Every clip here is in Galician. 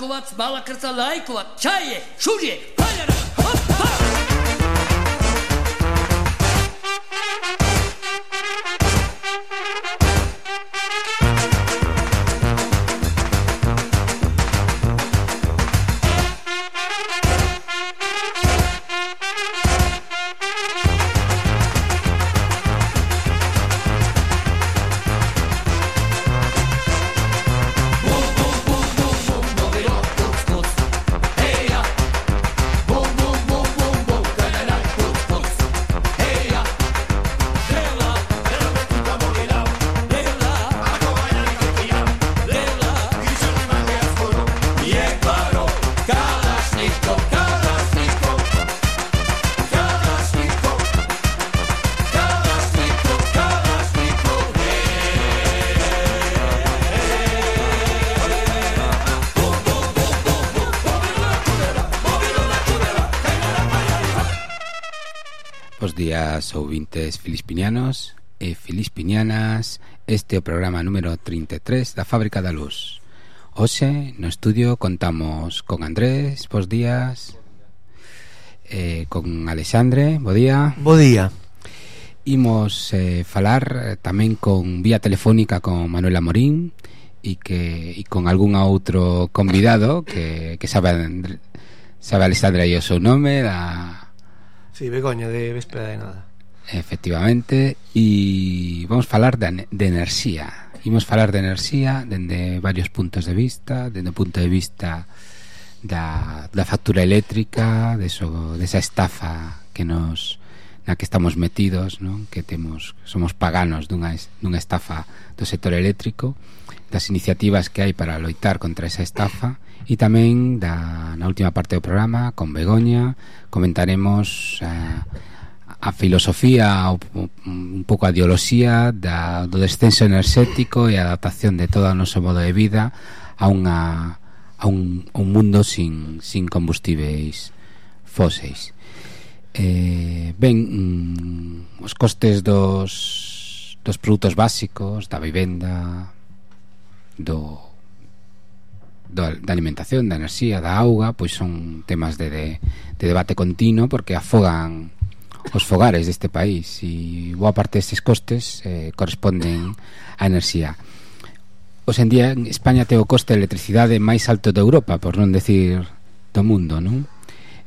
Lajkovac, Balakrca, Lajkovac, Čaje, Šužje, Paljara, hop, hop! Bos días, ouvintes filispinianos e filispinianas. Este é o programa número 33 da Fábrica da Luz. Hoxe no estudio contamos con Andrés, bos días, con Alexandre, bo día. Bo día. Imos falar tamén con vía telefónica con Manuel Amorín e con algún outro convidado que sabe Alexandre aí o seu nome da... Sí, Begoña, de Véspera de Nada. Efectivamente. E vamos falar de enerxía. Imos falar de enerxía dende varios puntos de vista. Dende o punto de vista da factura eléctrica, desa estafa na que estamos metidos, non? Que somos paganos dunha estafa do sector eléctrico, das iniciativas que hai para loitar contra esa estafa. E tamén na última parte do programa con Begoña comentaremos a filosofía, un pouco a ideoloxía do descenso enerxético e a adaptación de todo o noso modo de vida a un mundo sin combustíveis fóseis. Os costes dos produtos básicos, da vivenda, da alimentación, da enerxía, da auga, pois son temas de debate continuo, porque afogan os fogares deste país e boa parte destes costes corresponden á enerxía. Hoxe en día en España ten o coste de electricidade máis alto de Europa, por non decir do mundo, non?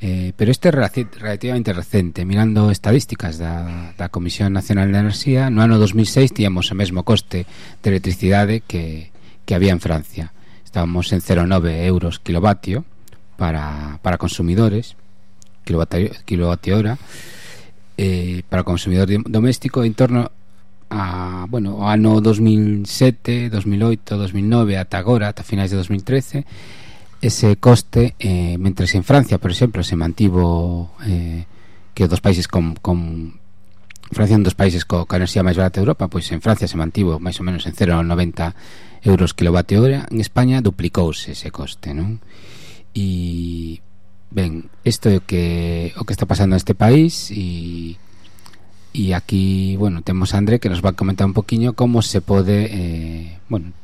Pero este é relativamente recente. Mirando estadísticas da Comisión Nacional de Enerxía, no ano 2006 tíamos o mesmo coste de electricidade que había en Francia. Estábamos en 0,9 euros kilovatio para consumidores, kilovatio hora, para consumidor doméstico, en torno a, o ano 2007, 2008, 2009 ata agora, ata finais de 2013. Ese coste, mentres en Francia, por exemplo, se mantivo, que dos países Francia é un dos países coa enerxía máis barata de Europa, pois en Francia se mantivo máis ou menos en 0,90 euros kilovatio hora. En España duplicouse ese coste, non? E ben, isto é o que está pasando neste país e aquí, temos a André que nos va a comentar un poquinho como se pode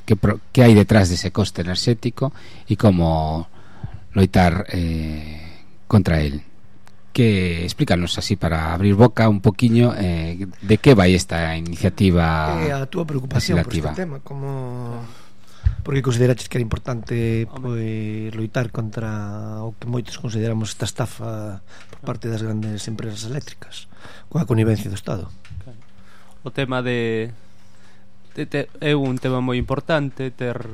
que hai detrás dese coste enerxético e como loitar contra el. Que explícanos así para abrir boca un poquinho de que vai esta iniciativa a túa preocupación legislativa por este tema, porque consideraches que era importante loitar contra o que moitos consideramos esta estafa por parte das grandes empresas eléctricas coa connivencia do Estado. O tema é un tema moi importante ter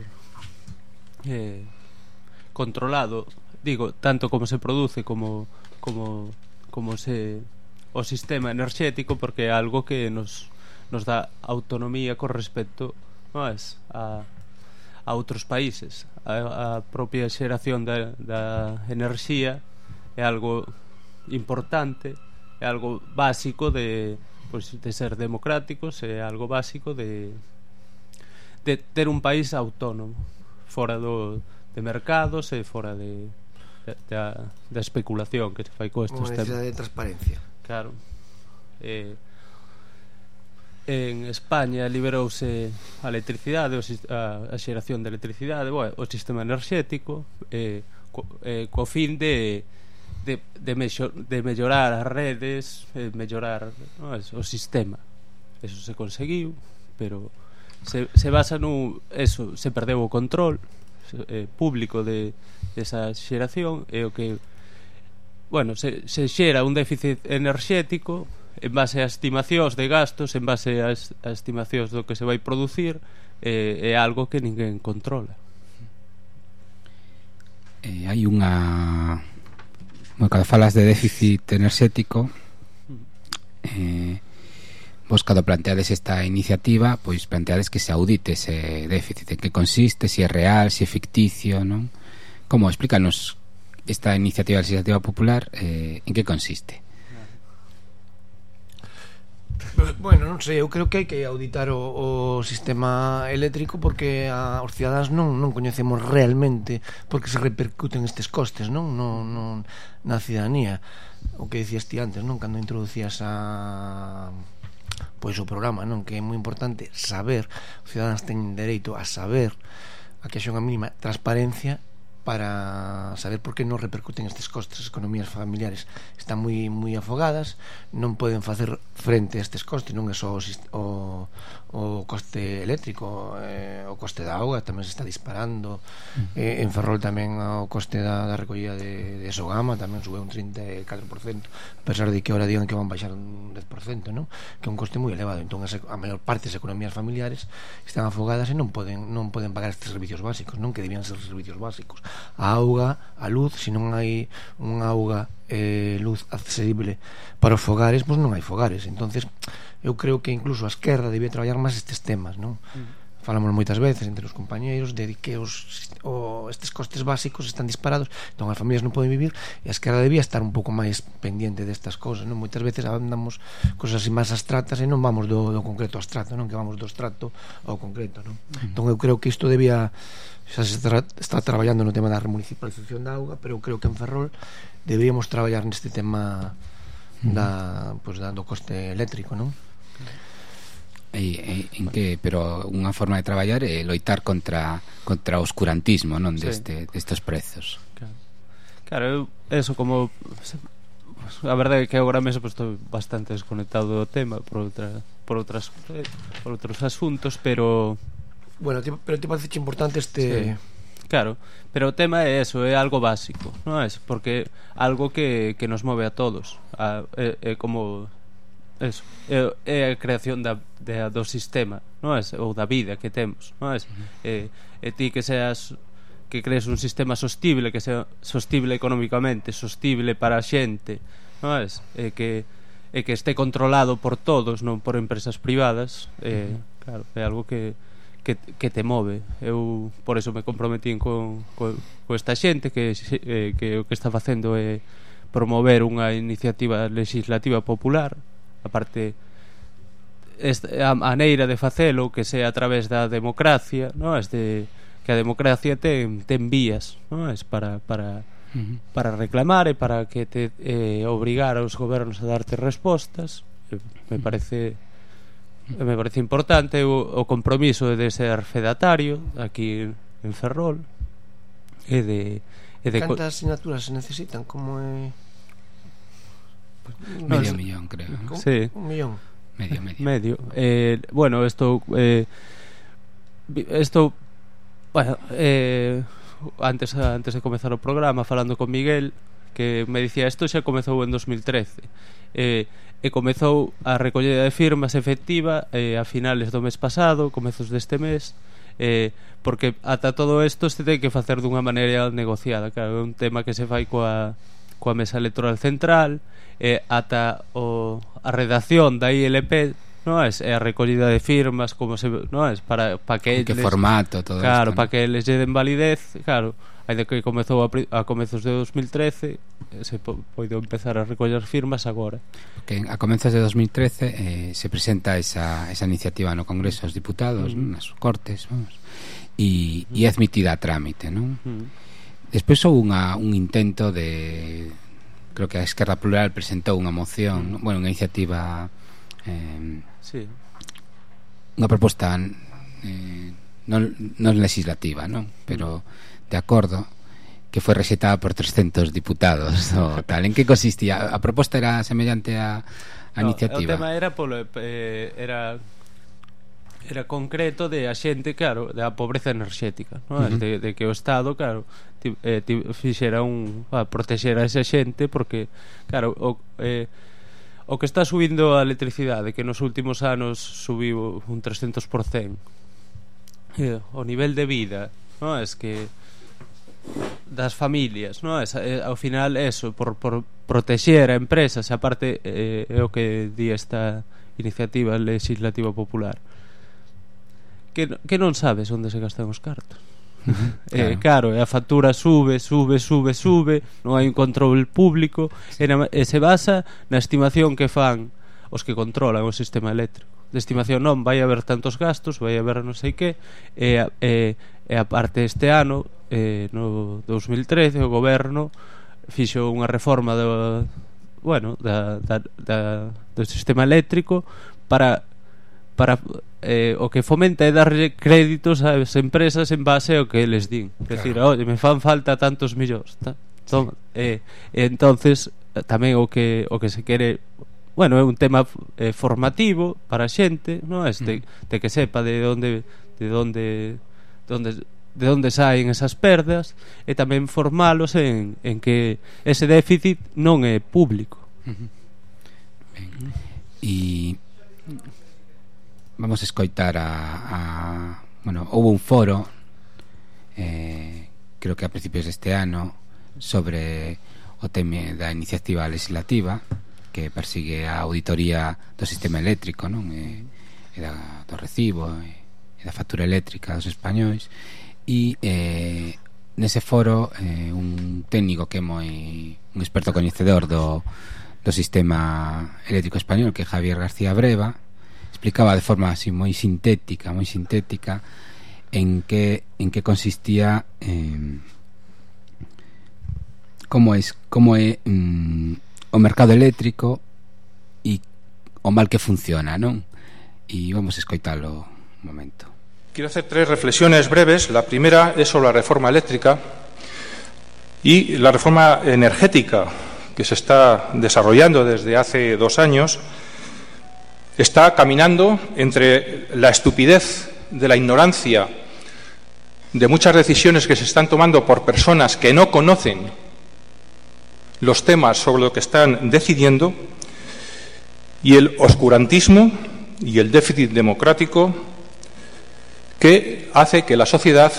controlado, digo, tanto como se produce como o sistema enerxético, porque é algo que nos dá autonomía con respecto a outros países. A propia xeración da enerxía é algo importante, é algo básico de ser democráticos, é algo básico de ter un país autónomo, fora de mercados e fora da especulación que se fai con estes temas. Unha necesidade de transparencia. Claro. en España liberouse a electricidade, a xeración de electricidade, o sistema enerxético, co fin de mellorar as redes, mellorar, no, o sistema. Eso se conseguiu, pero se basa eso, se perdeu o control público de esa xeración, e o que se xera un déficit enerxético en base a estimacións de gastos, en base a estimacións do que se vai producir, é algo que ninguén controla. Hai unha... Cando falas de déficit enerxético, vos cando planteades esta iniciativa, pois planteades que se audite ese déficit, en que consiste, se é real, se é ficticio, non? Como? Explícanos esta iniciativa legislativa popular, en que consiste? Bueno, non sei, eu creo que hai que auditar o sistema eléctrico porque os cidadáns non coñecemos realmente porque se repercuten estes costes, non na cidadanía. O que dicías ti antes, non, cando introducías o programa, non, que é moi importante saber, os cidadáns teñen dereito a saber, a que haxa unha mínima transparencia para saber por que non repercuten estes costes. As economías familiares están moi afogadas, non poden facer frente a estes costes, non é só o coste eléctrico, o coste da auga tamén se está disparando, en Ferrol tamén o coste da recollida de Sogama tamén sube un 34%, a pesar de que ahora digan que van baixar un 10%, non? Que é un coste moi elevado. Entón a maior parte das economías familiares están afogadas e non poden pagar estes servicios básicos, non, que debían ser servicios básicos, a auga, a luz. Se non hai unha auga luz accesible para os fogares, pois non hai fogares. Entonces eu creo que incluso a esquerda debía traballar máis estes temas, non? Falamos moitas veces entre os compañeiros de que estes costes básicos están disparados, entón as familias non poden vivir, e a esquerda debía estar un pouco máis pendiente destas cousas, non? Moitas veces andamos cosas así máis abstractas e non vamos do concreto ao abstracto, non? Que vamos do abstracto ao concreto, non? Entón eu creo que isto debía, xa se está traballando no tema da remunicipalización da auga, pero eu creo que en Ferrol deberíamos traballar neste tema do coste eléctrico, non? En que, pero unha forma de traballar é loitar contra o oscurantismo, non, destes prezos. Claro, eso como a verdade é que agora mesmo estou bastante desconectado do tema por outros asuntos, pero bueno, pero te parece importante este... Sí. Claro, pero o tema é eso, é algo básico, non é? Porque algo que nos move a todos, é como eso, é a creación do sistema, non é? Ou da vida que temos, non é? E ti que crees un sistema sostible, que sea sostible económicamente, sostible para a xente, non é? E que este controlado por todos, non por empresas privadas, claro, é algo que te move. Eu por eso me comprometín con esta xente que o que está facendo é promover unha iniciativa legislativa popular. Aparte, a maneira de facelo que sea a través da democracia, non? Que a democracia ten vías, non? Para reclamar e para que te obrigar aos gobernos a darte respostas. Me parece importante o compromiso de ser fedatario aquí en Ferrol e de cantas asignaturas se necesitan? Como é? Medio millón, creo, ¿no? Sí. Un millón. Medio. Bueno, esto bueno, antes de comezar o programa, falando con Miguel, que me dicía, isto xa comezou en 2013, e comezou a recollida de firmas efectiva a finales do mes pasado, comezos deste mes, porque ata todo isto se ten que facer dunha maneira negociada. Claro, é un tema que se fai coa mesa electoral central, ata a redacción da ILP, non é? E a recollida de firmas, como se, non é? Para que que formato todo claro, isto, para que eles lle den validez, claro. Ainda que comezou a comezos de 2013, se poido empezar a recoller firmas agora. Que a comezos de 2013 se presenta esa iniciativa no Congreso dos Diputados, nas Cortes, vamos, e é admitida a trámite, non? Despois houve un intento de, creo que a Esquerda Plural presentou unha moción, bueno, unha iniciativa sí, unha proposta non legislativa, non? Pero de acordo, que foi rexetada por 300 diputados ou tal. En que consistía? A proposta era semellante a iniciativa? O tema era era concreto de a xente, claro, da pobreza enerxética, non? De que o Estado, claro, fixera protexera a esa xente, porque, claro, o que está subindo a electricidade, que nos últimos anos subiu un 300%, o nivel de vida, non? Es que das familias, non? Ao final eso, por protexer a empresas, aparte é o que di esta iniciativa legislativa popular, que non sabes onde se gastan os cartos. Claro, a factura sube, non hai un control público, e se basa na estimación que fan os que controlan o sistema eléctrico. De estimación non, vai haber tantos gastos, vai haber non sei que, e a parte este ano, no 2013, o goberno fixo unha reforma do sistema eléctrico para o que fomenta é darlle créditos ás empresas en base ao que eles din. É dicir, oye, me fan falta tantos millóns, toma. Entonces tamén o que se quere, é un tema formativo para a xente, non? De que sepa de onde saen esas perdas, e tamén formalos en que ese déficit non é público. E vamos a escoitar houve un foro creo que a principios deste ano sobre o tema da iniciativa legislativa que persigue a auditoría do sistema eléctrico, non? E do recibo e da factura eléctrica dos españois, e nese foro un técnico que é un experto coñecedor do sistema eléctrico español, que é Javier García Breva, explicaba de forma así moi sintética en que consistía como é o mercado eléctrico e o mal que funciona, non? E vamos a escoitalo un momento. Quiero hacer 3 reflexiones breves. La primera es sobre la reforma eléctrica y la reforma energética que se está desarrollando desde hace 2 años. Está caminando entre la estupidez de la ignorancia de muchas decisiones que se están tomando por personas que no conocen los temas sobre lo que están decidiendo, y el oscurantismo y el déficit democrático que hace que la sociedad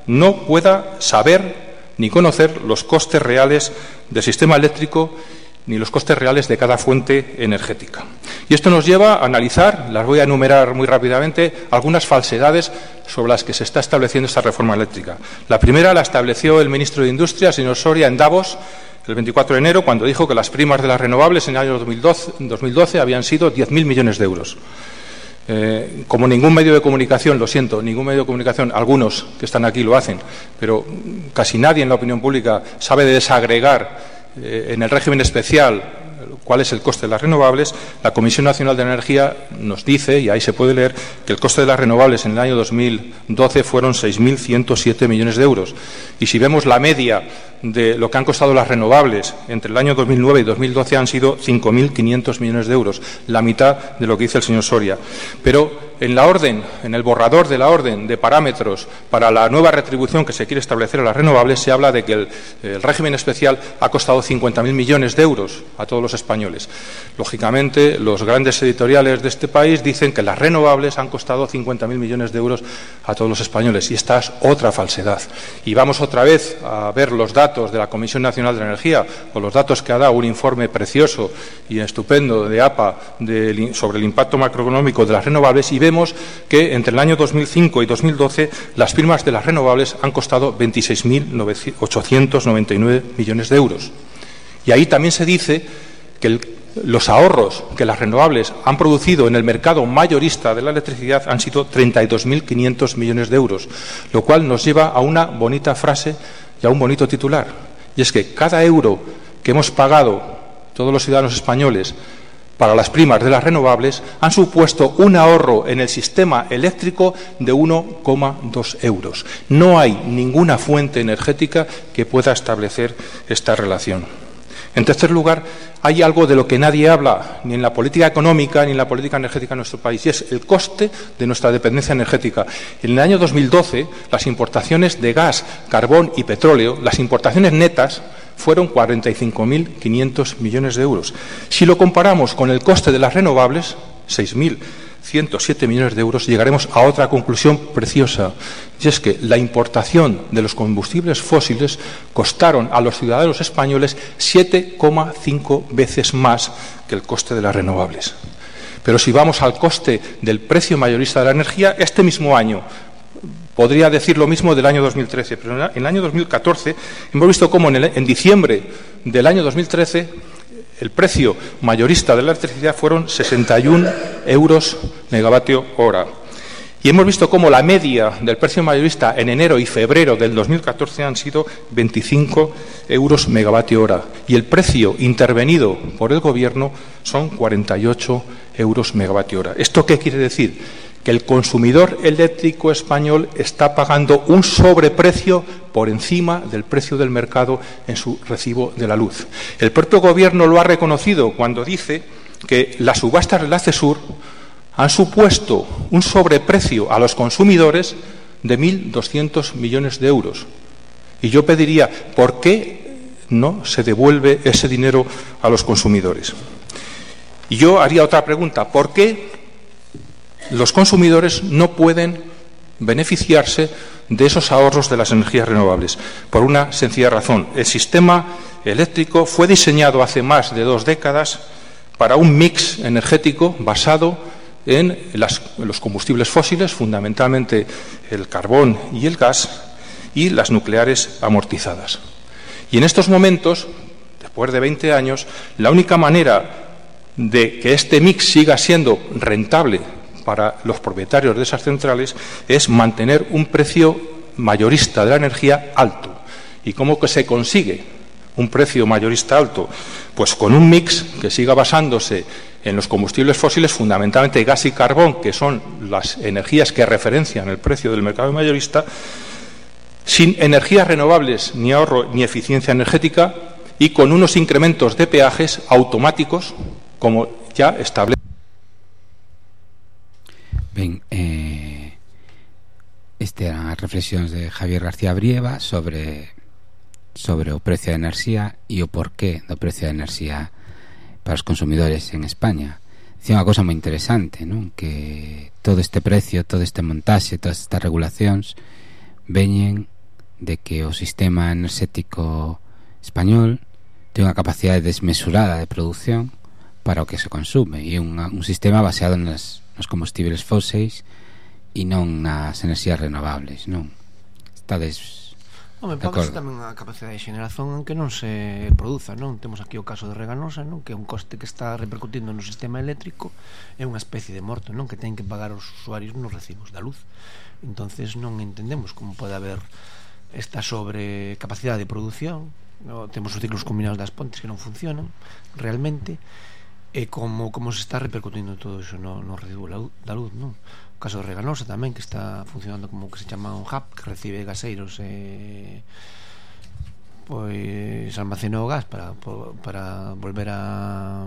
no pueda saber ni conocer los costes reales del sistema eléctrico ni los costes reales de cada fuente energética. Y esto nos lleva a analizar, las voy a enumerar muy rápidamente, algunas falsedades sobre las que se está estableciendo esta reforma eléctrica. La primera la estableció el ministro de Industria, señor Soria, en Davos, el 24 de enero, cuando dijo que las primas de las renovables en el año 2012 habían sido 10.000 millones de euros. Como ningún medio de comunicación, lo siento, ningún medio de comunicación, algunos que están aquí lo hacen, pero casi nadie en la opinión pública sabe desagregar en el régimen especial cuál es el coste de las renovables. La Comisión Nacional de Energía nos dice, y ahí se puede leer, que el coste de las renovables en el año 2012 fueron 6.107 millones de euros. Y si vemos la media de lo que han costado las renovables entre el año 2009 y 2012 han sido 5.500 millones de euros, la mitad de lo que dice el señor Soria. Pero en la orden, en el borrador de la orden de parámetros para la nueva retribución que se quiere establecer a las renovables, se habla de que el régimen especial ha costado 50.000 millones de euros a todos los españoles. Lógicamente, los grandes editoriales de este país dicen que las renovables han costado 50.000 millones de euros a todos los españoles, y esta es otra falsedad. Y vamos otra vez a ver los datos de la Comisión Nacional de Energía, o los datos que ha dado un informe precioso y estupendo de APA sobre el impacto macroeconómico de las renovables, y vemos que entre el año 2005 y 2012 las primas de las renovables han costado 26.899 millones de euros. Y ahí también se dice que los ahorros que las renovables han producido en el mercado mayorista de la electricidad han sido 32.500 millones de euros, lo cual nos lleva a una bonita frase y a un bonito titular, y es que cada euro que hemos pagado todos los ciudadanos españoles para las primas de las renovables han supuesto un ahorro en el sistema eléctrico de 1,2 euros. No hay ninguna fuente energética que pueda establecer esta relación. En tercer lugar, hay algo de lo que nadie habla, ni en la política económica ni en la política energética en nuestro país, y es el coste de nuestra dependencia energética. En el año 2012, las importaciones de gas, carbón y petróleo, las importaciones netas, fueron 45.500 millones de euros. Si lo comparamos con el coste de las renovables, 6.107 millones de euros, llegaremos a otra conclusión preciosa, y es que la importación de los combustibles fósiles costaron a los ciudadanos españoles 7,5 veces más que el coste de las renovables. Pero si vamos al coste del precio mayorista de la energía, este mismo año, podría decir lo mismo del año 2013, pero en el año 2014 hemos visto cómo en diciembre del año 2013 el precio mayorista de la electricidad fueron 61 euros megavatio hora. Y hemos visto cómo la media del precio mayorista en enero y febrero del 2014 han sido 25 euros megavatio hora. Y el precio intervenido por el Gobierno son 48 euros megavatio hora. ¿Esto qué quiere decir? Que el consumidor eléctrico español está pagando un sobreprecio por encima del precio del mercado en su recibo de la luz. El propio Gobierno lo ha reconocido cuando dice que las subastas del ACESUR han supuesto un sobreprecio a los consumidores de 1.200 millones de euros. Y yo pediría, ¿por qué no se devuelve ese dinero a los consumidores? Y yo haría otra pregunta, ¿por qué los consumidores no pueden beneficiarse de esos ahorros de las energías renovables? Por una sencilla razón. El sistema eléctrico fue diseñado hace más de 2 décadas para un mix energético basado en los combustibles fósiles, fundamentalmente el carbón y el gas, y las nucleares amortizadas. Y en estos momentos, después de 20 años, la única manera de que este mix siga siendo rentable para los propietarios de esas centrales es mantener un precio mayorista de la energía alto. ¿Y cómo que se consigue un precio mayorista alto? Pues con un mix que siga basándose en los combustibles fósiles, fundamentalmente gas y carbón, que son las energías que referencian el precio del mercado mayorista, sin energías renovables, ni ahorro ni eficiencia energética, y con unos incrementos de peajes automáticos, como ya establece. Ben, este eran as reflexións de Javier García Brieva sobre o precio da enerxía e o porqué do precio da enerxía para os consumidores en España. Dicía unha cosa moi interesante, non? Que todo este precio, todo este montaxe, todas estas regulacións veñen de que o sistema enerxético español ten unha capacidade desmesurada de produción para o que se consume, e un sistema baseado nos combustibles fóseis e non nas enerxías renovables, non? Estades de acordo? Tamén a capacidade de xeneración en que non se produza, non? Temos aquí o caso de Reganosa, non? Que é un coste que está repercutindo no sistema eléctrico, é unha especie de morto, non? Que ten que pagar os usuarios nos recibos da luz. Entonces non entendemos como pode haber esta sobrecapacidade de produción, no? Temos os ciclos combinados das pontes que non funcionan realmente, e como se está repercutindo todo iso no recibo da luz, non? O caso de Reganosa tamén, que está funcionando como que se chama un hub, que recibe gaseiros pois almacena o gas para volver a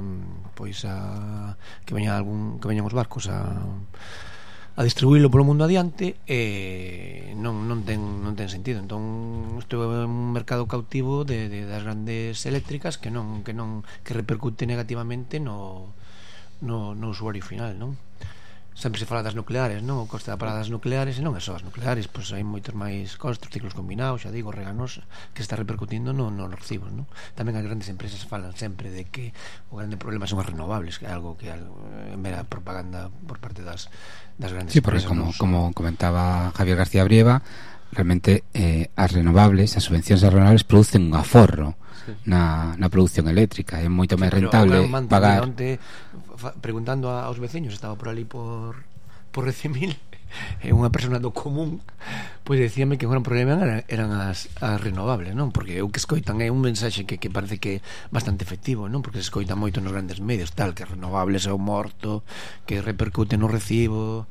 que veñan os barcos a distribuílo polo mundo adiante, non ten sentido. Entón isto é un mercado cautivo das grandes eléctricas que repercute negativamente no usuario final, non? Sempre se fala das nucleares, non? O coste da parada das nucleares, e non é só as nucleares, pois hai moitos máis costos, ciclos combinados, xa digo, Reganosa, que está repercutindo nos recibos, non? Tamén as grandes empresas falan sempre de que o grande problema son as renovables, que é algo que é mera propaganda por parte das grandes empresas. Sí, porque como comentaba Javier García Brieva, realmente as renovables, as subvencións das renovables producen un aforro na produción eléctrica. É moito máis rentable pagar. Preguntando aos veciños, estaba por ali por Recimil, é unha persona do común, Pois dicíame que un gran problema eran as renovables, non? Porque o que escoitan é un mensaxe que parece que é bastante efectivo, non? Porque se escoita moito nos grandes medios, tal, que renovables é o morto, que repercute no recibo,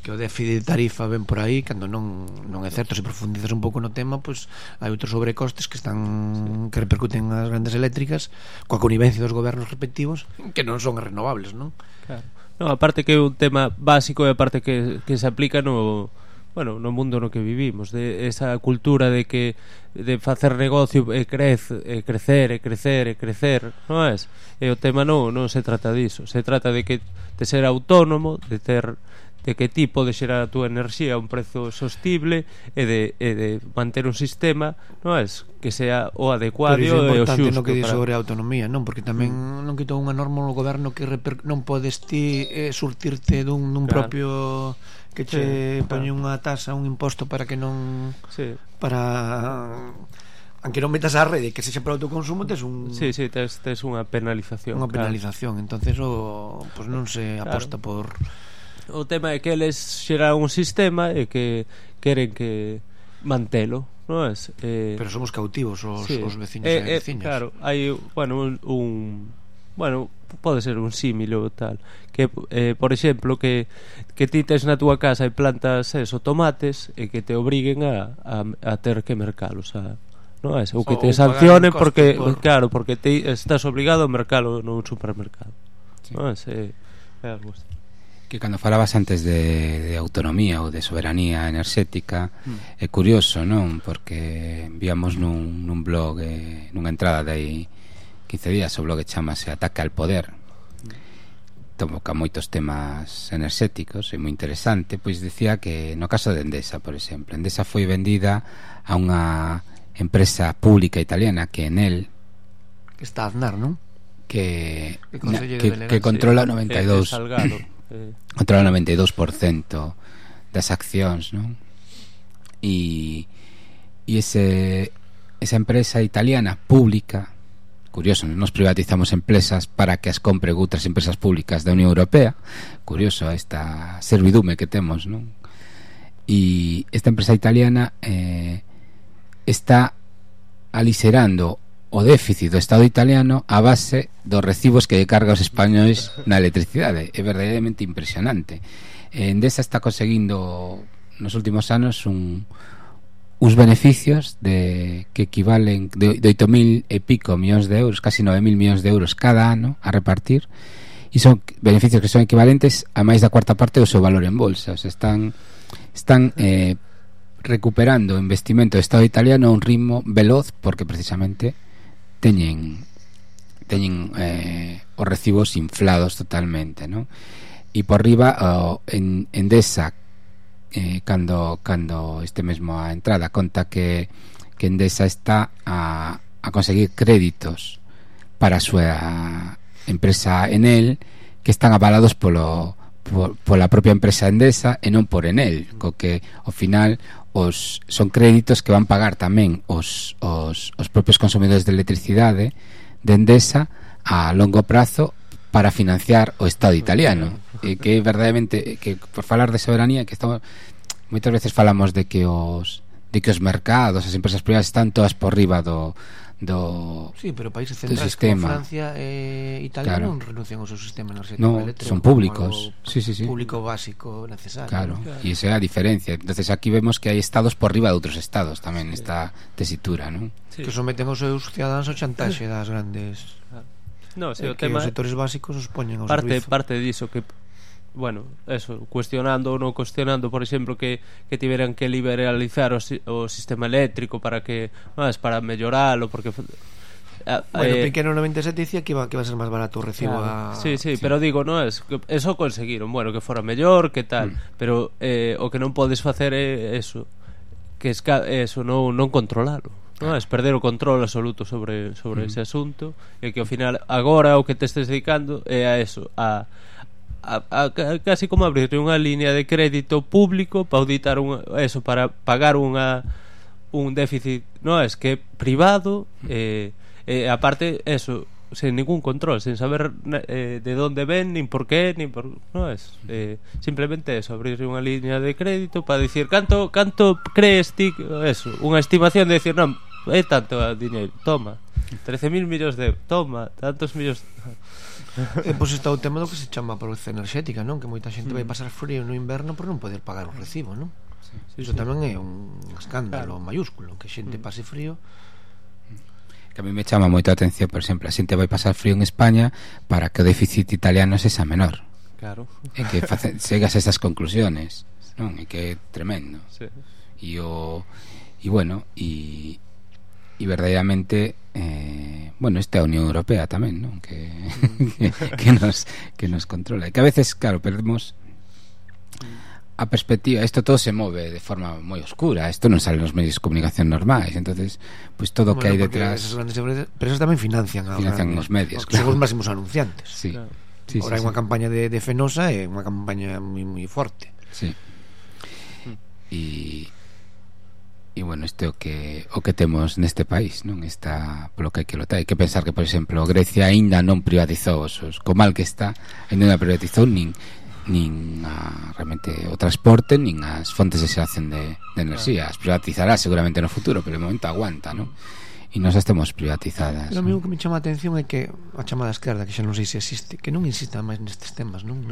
que o déficit de tarifa ven por aí, cando non é certo. Se profundizas un pouco no tema, pois hai outros sobrecostes que están que repercuten nas grandes eléctricas coa connivencia dos gobernos respectivos que non son as renovables, non? Claro. No, aparte que é un tema básico e aparte que se aplica no mundo no que vivimos, de esa cultura de que de facer negocio e crecer, non é? E o tema non se trata diso, se trata de ser autónomo, de que ti podes xerar a túa enerxía a un prezo sostible e de manter un sistema, non é? Que sea o adecuado e o xusto. No que di sobre a autonomía, non? Porque tamén non quitou unha norma no goberno que non podes ti surtirte dun propio que che poñe unha tasa, un imposto para que non para aunque non metas á rede que sexa para autoconsumo, tes un tes unha penalización. Unha penalización, entonces pues non se aposta por... O tema é que eles xeran un sistema e que queren que mantelo, non é? Pero somos cautivos os veciños e veciñas. Claro, hai, pode ser un símil ou tal que, por exemplo, que ti tes na túa casa e plantas tomates e que te obriguen a ter que mercalos non é? Ou que te sancionen porque ti estás obligado a mercalo nun supermercado, non é? É algo así. Que cando falabas antes de autonomía ou de soberanía enerxética é curioso, non? Porque víamos nun blog, nunha entrada de aí 15 días, o blog chamase Ataque al Poder, toca moitos temas enerxéticos, é moi interesante. Pois dicía que no caso de Endesa, por exemplo, Endesa foi vendida a unha empresa pública italiana que Enel, que está Aznar, non? Que controla 92 controla o 92% das accións, non? E esa empresa italiana pública, curioso, nos privatizamos empresas para que as compre outras empresas públicas da Unión Europea, curioso esta servidume que temos, non? E esta empresa italiana está aliserando o déficit do Estado italiano a base dos recibos que carga os españois na electricidade. É verdadeiramente impresionante. Endesa está conseguindo nos últimos anos uns beneficios que equivalen de 8.000 e pico millóns de euros, casi 9.000 millóns de euros cada ano a repartir, e son beneficios que son equivalentes a máis da cuarta parte do seu valor en bolsa. O sea, están recuperando o investimento do Estado italiano a un ritmo veloz, porque precisamente teñen os recibos inflados totalmente, ¿no? E por riba Endesa, cando este mesmo a entrada conta que Endesa está a conseguir créditos para a súa empresa Enel, que están avalados pola propia empresa Endesa e non por Enel, co que ao final son créditos que van pagar tamén os propios consumidores de electricidade de Endesa a longo prazo para financiar o Estado italiano. E que verdadeiramente, que por falar de soberanía, que estamos moitas veces falamos de que os mercados, as empresas privadas están todas por riba do sí, pero países centrais como Francia e Italia non renuncian ao seu sistema energético eléctrico, son públicos, público básico necesario. Claro, e esa é a diferencia. Entonces aquí vemos que hai estados por riba de outros estados tamén nesta tesitura, non? Que someten os seus cidadáns ao chantaxe das grandes. No, o tema, os sectores básicos os poñen ao servizo. Parte diso que cuestionando ou non cuestionando, por exemplo, que tiveran que liberalizar o sistema eléctrico para melloralo, porque Piqué no 97 dicía que iba a ser máis barato o recibo sí, pero digo, non es que eso conseguiron, que fora mellor, que tal, pero o que non podes facer é eso, que eso non controlalo. Non é perder o control absoluto sobre ese asunto, e que ao final agora o que te estés dedicando é a eso, a casi como abrir unha línea de crédito público para auditar para pagar un déficit, non é que é privado, aparte eso, sin ningún control, sin saber de dónde ven, ni por qué, ni por... No es simplemente eso, abrir unha línea de crédito para dicir canto crees ti, eso, unha estimación de decir, non, é tanto dinheiro, toma 13.000 millóns de euros, toma tantos millóns. Pois está o tema do que se chama pobreza enerxética, non? Que moita xente vai pasar frío no inverno por non poder pagar o recibo, non? Iso tamén é un escándalo mayúsculo, que xente pase frío. Que a mí me chama moito a atención, por exemplo, a xente vai pasar frío en España para que o déficit italiano sexa menor. Claro. E que chegas a esas conclusiones, non? E que é tremendo. Sí. E bueno, e verdadeiramente bueno, esta é a Unión Europea tamén, non? Que nos controla. E que a veces, claro, perdemos a perspectiva, isto todo se move de forma moi oscura, isto non sale nos medios de comunicación normais, entonces pues todo o que hai detrás, esas grandes empresas tamén financian os medios, claro. Son os máximos anunciantes. Sí. Claro. Sí, Ahora hai sí, unha campaña de Fenosa e unha campaña moi forte. Sí. E bueno, isto é o que temos neste país, non? Está polo que hai que lotar. Hai que pensar que, por exemplo, Grecia aínda non privatizou co mal que está, aínda non privatizou nin realmente o transporte nin as fontes de xeración de enerxía. As privatizará seguramente no futuro, pero de momento aguanta, non? E nós estemos privatizadas. Pero a mí o que me chama a atención é que a chamada esquerda, que xa non sei se existe, que non insista máis nestes temas, non?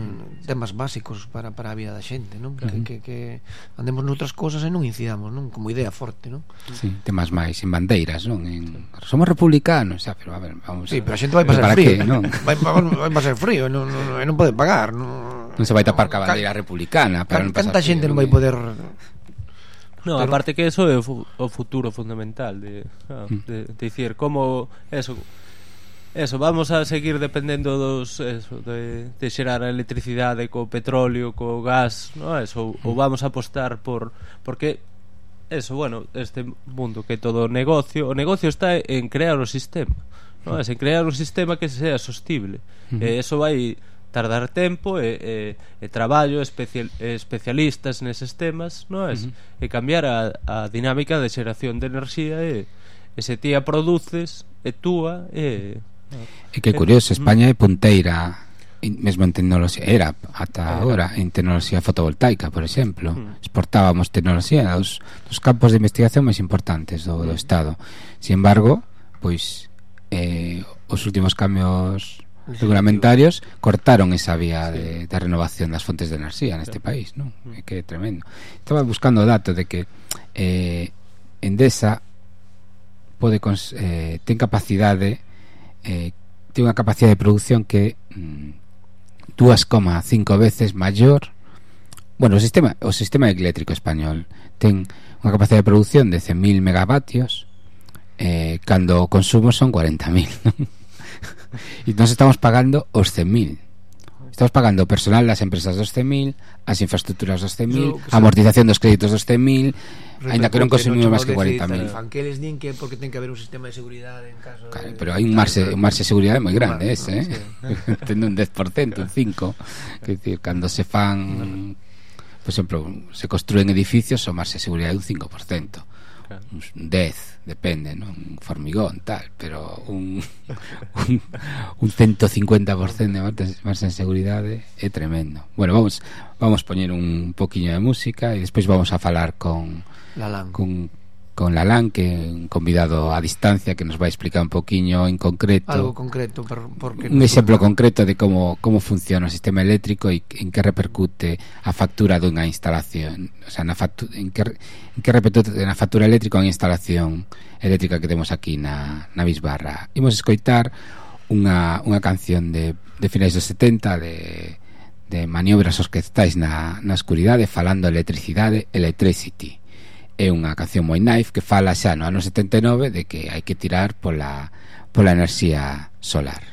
Temas básicos para a vida da xente, non? Que andemos noutras cosas e non incidamos, non? Como idea forte, non? Sí, temas máis en bandeiras, non? Somos republicanos, xa, pero a ver, vamos. Sí, pero a xente vai pasar frío, non? Vai pasar frío, non pode pagar, non se vai tapar ca bandeira republicana para non pasar. Canta xente non vai poder. No, aparte que eso é o futuro fundamental de dicir como eso vamos a seguir dependendo de xerar a electricidade co petróleo, co gas, no? Eso, ou vamos a apostar porque eso, bueno, este mundo que todo negocio, o negocio está en crear o sistema, no? En crear un sistema que sea sostible. Eso vai tardar tempo e traballo, especialistas neses temas, non é? E cambiar a dinámica de xeración de enerxía e se ti a produces e túa e que curioso, España é punteira mesmo en tecnoloxía, era ata agora en tecnoloxía fotovoltaica, por exemplo. Exportábamos tecnoloxía dos campos de investigación máis importantes do Estado. Sin embargo, pois os últimos cambios regulamentarios cortaron esa vía de renovación das fontes de enerxía neste país, non? É que é tremendo. Estaba buscando o dato de que Endesa ten capacidade, ten unha capacidade de produción que 2,5 veces maior. Bueno, o sistema eléctrico español ten unha capacidade de produción de 100.000 megavatios, cando o consumo son 40.000. E nós estamos pagando os 100.000. Estamos pagando o personal das empresas dos 100.000, as infraestructuras dos 100.000, a amortización dos créditos dos 100.000, aínda que non consumimos máis que 40.000. Que eles din que porque ten que haber un sistema de seguridade en caso claro, pero hai un marxe de seguridade moi grande ese, ten un 10%, un 5%. Quer dicir, cando se fan, por exemplo, se construen edificios, o marxe de seguridade é un 5%. Un 10, depende, non? Un formigón, tal, pero un 150% de marxe de seguridade é tremendo. Bueno, vamos poñer un poquinho de música e despois vamos a falar con Lalán, que é un convidado a distancia que nos vai explicar un poquinho en concreto, algo concreto, porque un exemplo concreto de como funciona o sistema eléctrico e en que repercute a factura dunha instalación, o sea, en que repercute na factura eléctrica unha instalación eléctrica que temos aquí na Bisbarra. Imos escoitar unha canción de finais dos 70 de maniobras orquestais na escuridade, falando de electricidade, Electricity. É unha canción moi naif que fala xa no ano 79 de que hai que tirar pola enerxía solar.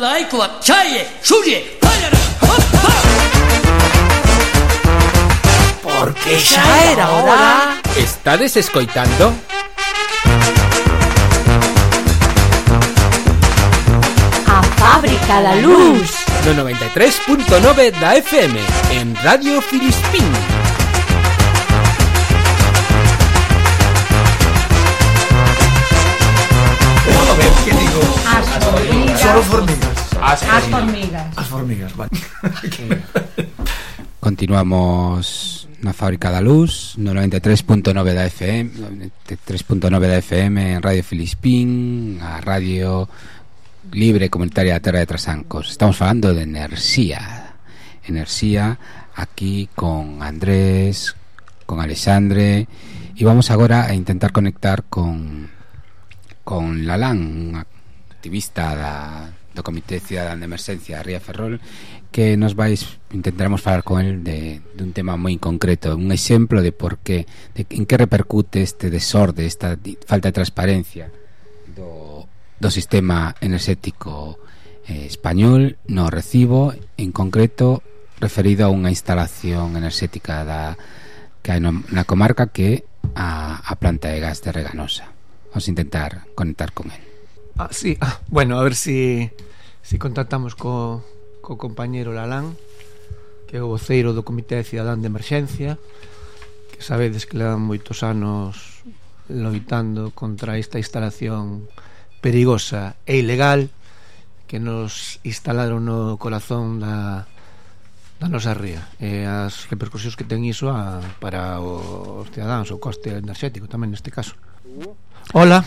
Laiko Chaye, Shuye, Payara, Porque xa era hora. Estades escoitando? A Fábrica da Luz. No 93.9 da FM, en Radio Filispín. A ver, ¿qué digo? As formigas. Solo formigas. As formigas. As formigas, vale. Continuamos na Fábrica da Luz no 93.9 da FM, 93.9 da FM en Radio Filispín, a radio libre comunitaria da Terra de Trasancos. Estamos falando de enerxía aquí con Andrés, con Alexandre, e vamos agora a intentar conectar con Lalán, un activista do Comité Cidadán de Emerxencia da Ría de Ferrol, que nos intentaremos falar con él de un tema moi concreto, un exemplo de por qué, en que repercute este desorde, esta falta de transparencia do sistema enerxético español no recibo, en concreto referido a unha instalación enerxética que hai na comarca, que a planta de gas de Reganosa. Vamos a intentar conectar con él. Sí. Bueno, a ver si contactamos co compañeiro Lalán, que é o voceiro do Comité Cidadán de Emerxencia, que sabedes que levan moitos anos loitando contra esta instalación perigosa e ilegal que nos instalaron no corazón da nosa ría, e as repercusións que ten iso para os cidadáns, o coste enerxético tamén neste caso. Hola.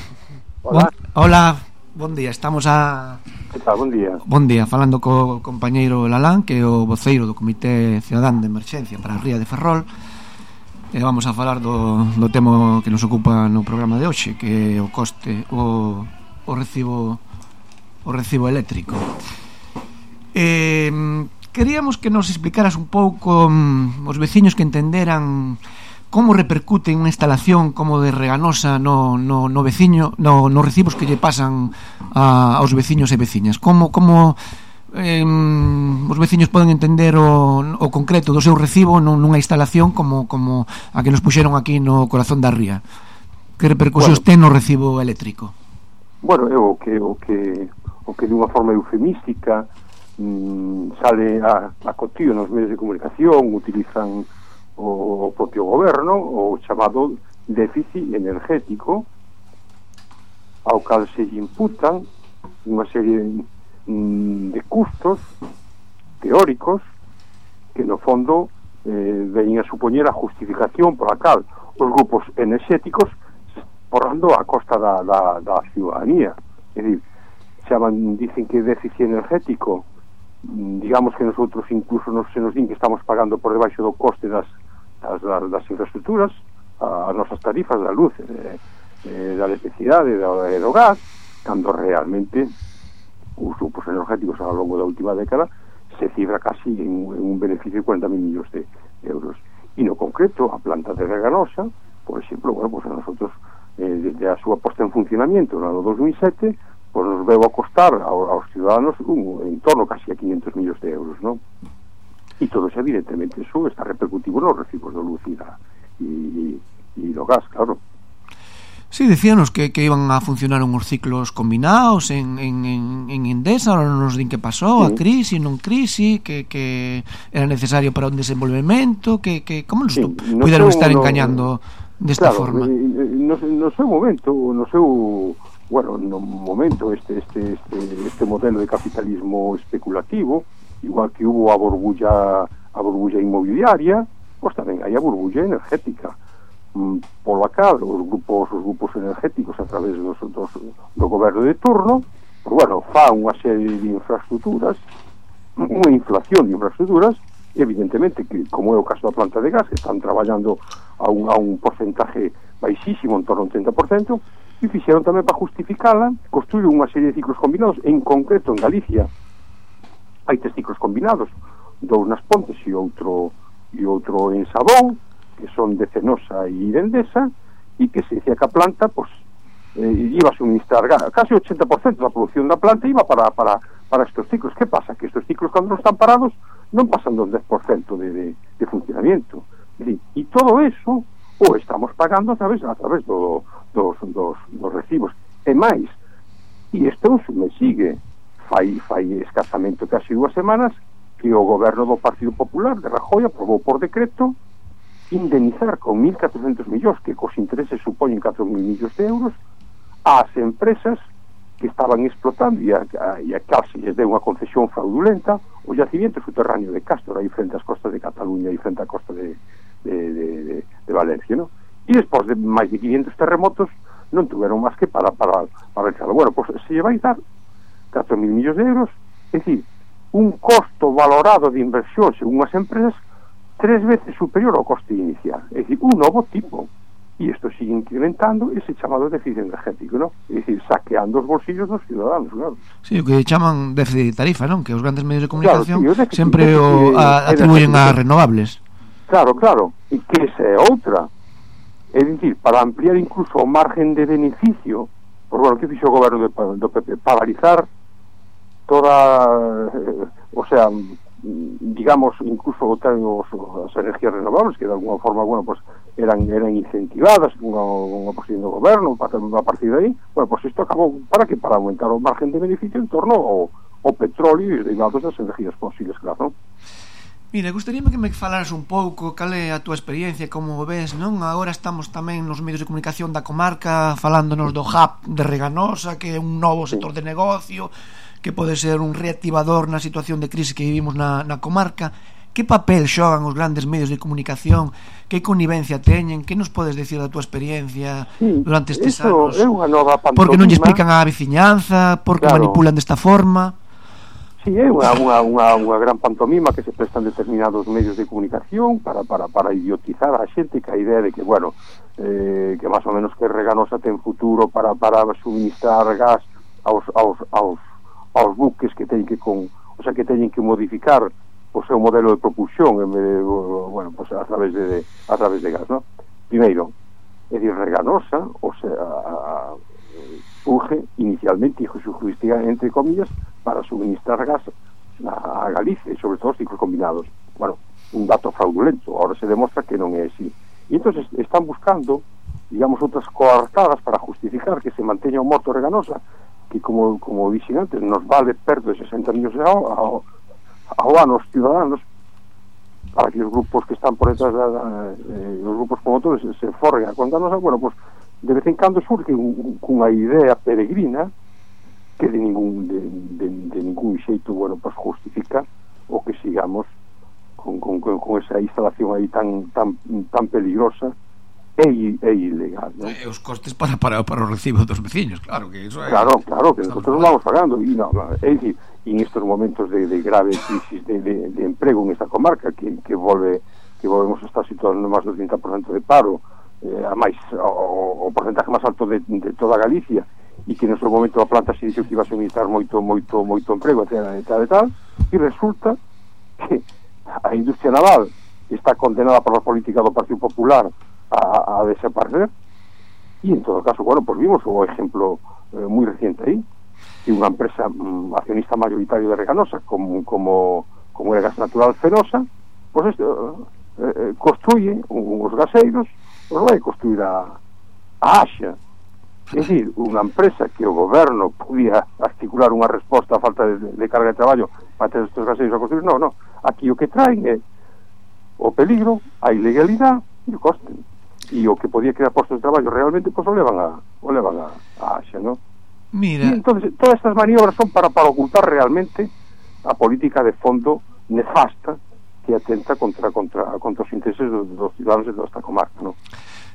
Hola. Bon día, estamos Que tal, bon día. Bon día, falando co compañeiro Lalán, que é o voceiro do Comité Cidadán de Emerxencia para a Ría de Ferrol, e vamos a falar do tema que nos ocupa no programa de hoxe, que é o coste, o recibo eléctrico. Queríamos que nos explicaras un pouco os veciños que entenderan como repercute unha instalación como de Reganosa no veciño, no recibos que lle pasan aos veciños e veciñas. Como os veciños poden entender o concreto do seu recibo nunha instalación como a que nos puxeron aquí no corazón da ría. Que repercusións ten no recibo eléctrico? Bueno, é o que dunha forma eufemística sale a cotío nos medios de comunicación, utilizan o propio goberno, o chamado déficit energético, ao cal se imputan unha serie de custos teóricos que no fondo veñen a supoñer a justificación por a cal os grupos enerxéticos porrando a costa da ciudadanía. É dicir, dicen que déficit energético, digamos que nosotros incluso se nos din que estamos pagando por debaixo do coste das infraestructuras, as nosas tarifas da luz, da electricidade e do gas, cando realmente os grupos energéticos ao longo da última década se cifra casi en un beneficio de 40.000 millóns de euros. E no concreto, a planta de Reganosa, por exemplo, pues a nosotros desde a súa posta en funcionamiento no ano 2007, pues nos veu a costar aos ciudadanos en torno casi a 500 millóns de euros, non? E todo eso, evidentemente, eso está repercutivo nos recibos de luz e do gas, claro. Sí, decíanos que iban a funcionar unhos ciclos combinados en Endesa, ahora nos din que pasou, sí. A crisi, non crisi, que era necesario para un desenvolvemento, que como nos puderon estar engañando desta forma? No seu momento, este modelo de capitalismo especulativo, igual que hubo a burbulla inmobiliaria, pues tamén hai a burbulla energética, pola cal os grupos energéticos a través do goberno de turno, fa unha serie de infraestructuras, unha inflación de infraestructuras, e evidentemente que, como é o caso da planta de gas, que están traballando a un porcentaje baixísimo, en torno a un 30%, e fixeron tamén para justificala, construíron unha serie de ciclos combinados. En concreto en Galicia hai 3 ciclos combinados, 2 nas Pontes e outro en Sabón, que son de Cenosa e de Endesa, e que se decía que a planta iba a suministrar casi 80% da producción da planta iba para para estos ciclos. ¿Qué pasa? Que estos ciclos, cuando no están parados, non pasan do 10% de funcionamiento. E todo eso o estamos pagando a través dos recibos. E máis, e isto me sigue, fai escasamente casi 2 semanas que o goberno do Partido Popular de Rajoy aprobou por decreto indemnizar con 1.400 millóns, que cos intereses supoñen 4.000 millóns de euros, ás empresas que estaban explotando e a case lles deu unha concesión fraudulenta o yacimiento subterráneo de Castro, aí frente ás costas de Cataluña e frente á costa de Valencia, ¿no? E despois de máis de 500 terremotos non tuveron máis que para realizarlo. Bueno, pues se lle vai dar 4.000 millóns de euros, é dicir, un costo valorado de inversión según as empresas 3 veces superior ao coste inicial, é dicir, un novo tipo. E isto sigue incrementando ese chamado déficit energético, ¿no? É dicir, saqueando os bolsillos dos ciudadanos, claro. Sí, o que chaman déficit de tarifa, non? Que os grandes medios de comunicación, claro, sí, sempre o atribuyen a renovables. Claro, e que esa é outra. É dicir, para ampliar incluso o margen de beneficio, por bueno, que fixo o goberno do PP, paralizar toda, o sea, digamos, incluso as energías renovables, que de alguna forma, bueno, pues eran incentivadas unha posición do goberno a partir de aí. Bueno, pues isto acabou para aumentar o margen de beneficio en torno ao petróleo e os derivados das energías fósiles, claro, non? Mira, gustaríame que me falaras un pouco cal é a túa experiencia, como o ves, non? Agora estamos tamén nos medios de comunicación da comarca falándonos do hub de Reganosa, que é un novo sector de negocio, que pode ser un reactivador na situación de crise que vivimos na comarca. Que papel xogan os grandes medios de comunicación? Que connivencia teñen? Que nos podes decir da túa experiencia durante estes anos? É unha nova pantomima. Porque non lle explican a veciñanza? Porque manipulan desta forma? Sí, é unha gran pantomima que se prestan determinados medios de comunicación para idiotizar a xente, que a idea de que, bueno, que máis ou menos que Reganosa ten futuro para suministrar gas aos buques que teñen que modificar o seu modelo de propulsión en vez de, bueno, pues a través de gas, ¿no? Primeiro, é dicir, Reganosa, o sea, surge inicialmente, e justifica entre comillas, para suministrar gas a Galicia, e sobre todo os ciclos combinados. Bueno, un dato fraudulento, ahora se demostra que non é así. E entonces están buscando, digamos, outras coartadas para justificar que se manteña o morto Reganosa, que como dixen antes, nos vale perto de 60 millóns de ao ano os ciudadanos, para que os grupos que están por detrás os grupos promotores se forren a contarnos. Bueno, pues de vez en cando surge cunha idea peregrina que de ningún xeito, bueno, pues justifica o que sigamos con esa instalación aí tan peligrosa e ilegal, ¿no? Os costes para o recibo dos veciños, claro que eso é... Claro, que nosotros non vamos pagando. E é dicir, en estos momentos de grave crisis de emprego en esta comarca, que volvemos a estar situados en máis do 30% de paro, a máis o porcentaje máis alto de toda Galicia, e que no seu momento a planta se dixo que iba a suministrar moito emprego, e tal, e resulta que a industria naval está condenada por a política do Partido Popular a desaparecer. E en todo caso, bueno, pues vimos o exemplo moi reciente aí, que unha empresa accionista mayoritario de Reganosa, como é Gas Natural Fenosa, pues construye uns gaseiros, os vai construir a Axa. É dicir, unha empresa que o goberno podía articular unha resposta á falta de carga de traballo para ter estes gaseiros a construir. No, aquí o que traen é o peligro, a ilegalidade e o coste. E o que podía crear postos de traballo realmente, pues o levan a Axa, ¿no? Mira. Y entonces todas estas maniobras son para ocultar realmente a política de fondo nefasta que atenta contra os intereses dos ciudadanos de toda esta comarca, ¿no?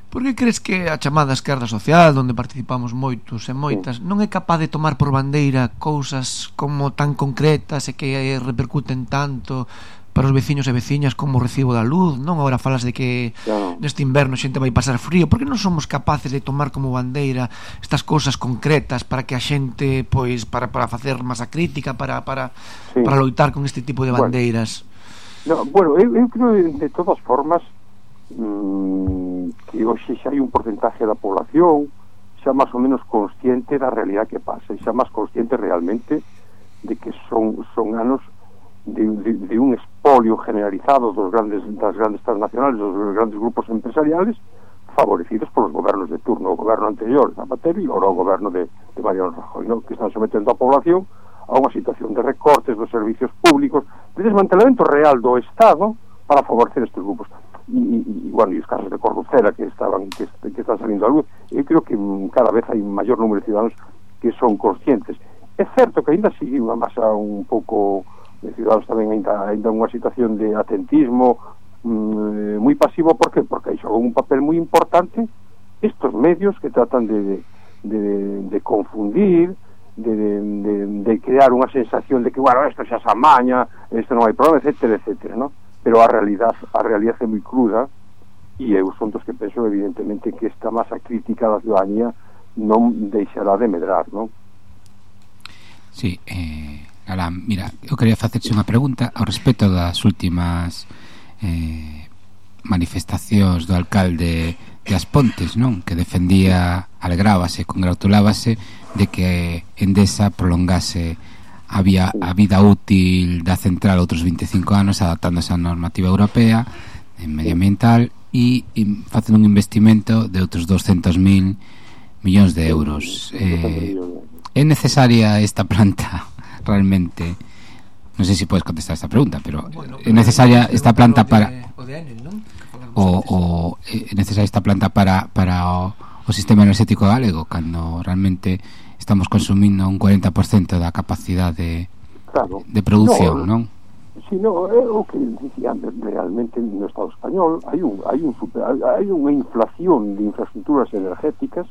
Por que crees que a chamada esquerda social, onde participamos moitos e moitas, non é capaz de tomar por bandeira cousas como tan concretas e que repercuten tanto para os veciños e veciñas como o recibo da luz, non? Agora falas de que neste inverno a xente vai pasar frío. Por que non somos capaces de tomar como bandeira estas cousas concretas para que a xente, pois, para facer masa crítica, para loitar con este tipo de bandeiras? Bueno, eu creo de todas formas que hoxe xa hai un porcentaje da población xa máis ou menos consciente da realidade que pasa, e xa máis consciente realmente de que son anos de un expolio generalizado das grandes transnacionales, dos grandes grupos empresariales, favorecidos polos gobernos de turno, o goberno anterior, Zapatero, e agora o goberno de Mariano Rajoy, ¿no? Que están sometendo a población a unha situación de recortes dos servicios públicos, de desmantelamento real do Estado para favorecer estes grupos. E bueno, e os casos de corruptela que están salindo a luz, eu creo que cada vez hai un maior número de ciudadanos que son conscientes. É certo que ainda sigue unha masa un pouco de ciudadanos tamén ainda unha situación de atentismo moi pasivo. ¿Por qué? Porque aí xogan un papel moi importante estos medios que tratan de confundir, de crear unha sensación de que, bueno, isto xa se amaña, isto non hai problema, etcétera, etcétera, ¿no? Pero a realidade é moi cruda, e eu son dos que penso evidentemente que esta masa crítica da ciudadanía non deixará de medrar, ¿no? Sí, Galán, mira, eu quería facerche unha pregunta ao respecto das últimas manifestacións do alcalde de As Pontes, non? Que defendía, alegrábase, congratulábase de que Endesa prolongase a vida útil da central outros 25 anos, adaptándose á normativa europea medioambiental e facendo un investimento de outros 200.000 millóns de euros. É necesaria esta planta realmente? Non sei se podes contestar esta pregunta, pero é necesaria esta planta para é necesaria esta planta para o sistema energético galego, cando realmente estamos consumindo un 40% da capacidade de produción, non? Si, no, é o que dicía antes, realmente no Estado español hai unha inflación de infraestructuras energéticas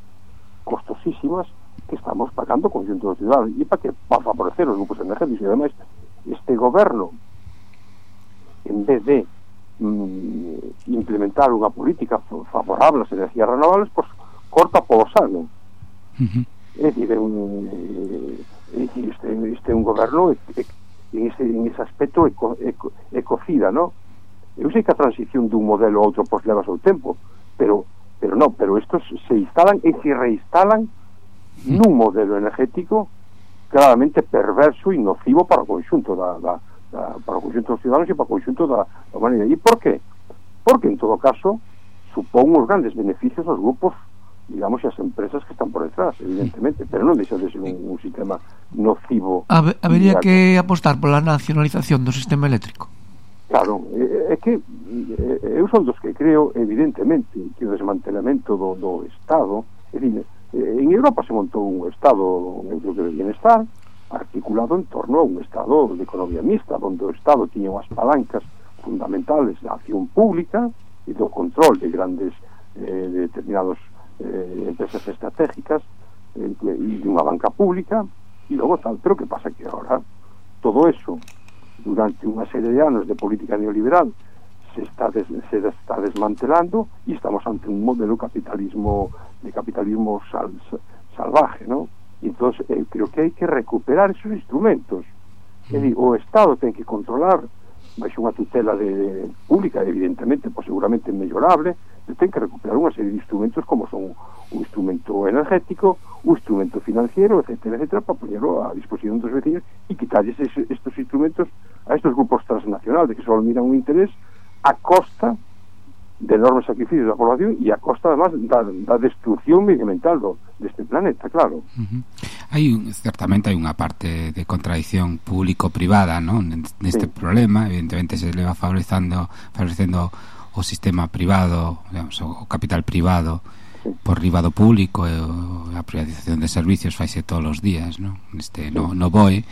costosísimas que estamos pagando o conjunto da cidade, e para favorecer os grupos energéticos. E ademais este goberno, en vez de implementar unha política favorable ás energías renovables, pues corta polo sano. É dicir, este é un goberno en ese aspecto ecocida, ¿no? Eu sei que a transición dun modelo a outro pois leva o seu tempo, pero estos se instalan e se reinstalan nun modelo energético claramente perverso e nocivo para o conxunto para o conxunto dos ciudadanos e para o conxunto da humanidade. E por qué? Porque en todo caso supón uns grandes beneficios aos grupos, digamos, as empresas que están por detrás, evidentemente, pero non deixa de ser un sistema nocivo. Habería que apostar pola nacionalización do sistema eléctrico. Claro, é que eu son dos que creo, evidentemente, que o desmantelamento do Estado, é dicir, en Europa se montou un Estado de bienestar articulado en torno a un Estado de economía mixta, onde o Estado tiña unhas palancas fundamentales da acción pública e do control de grandes de determinados empresas estratégicas e de unha banca pública e logo tal. Pero que pasa que ahora todo eso, durante unha serie de anos de política neoliberal, se está desmantelando e estamos ante un modelo de capitalismo salvaje, ¿no? E entonces creo que hai que recuperar esos instrumentos. É dicir, o Estado ten que controlar baixo unha tutela pública, evidentemente, pues seguramente mellorable, ten que recuperar unha serie de instrumentos como son un instrumento energético, un instrumento financiero, etcétera, etcétera, para ponerlo a disposición dos vecinos e quitarles estos instrumentos a estos grupos transnacionales que só miran un interés a costa de enormes sacrificios da población e a costa, además, da destrucción medioambiental deste planeta, claro. Certamente hai unha parte de contradicción público-privada, non? Neste problema, evidentemente se leva favorecendo o sistema privado, digamos, o capital privado por riba do público, e a privatización de servicios faise todos os días, non? No BOE,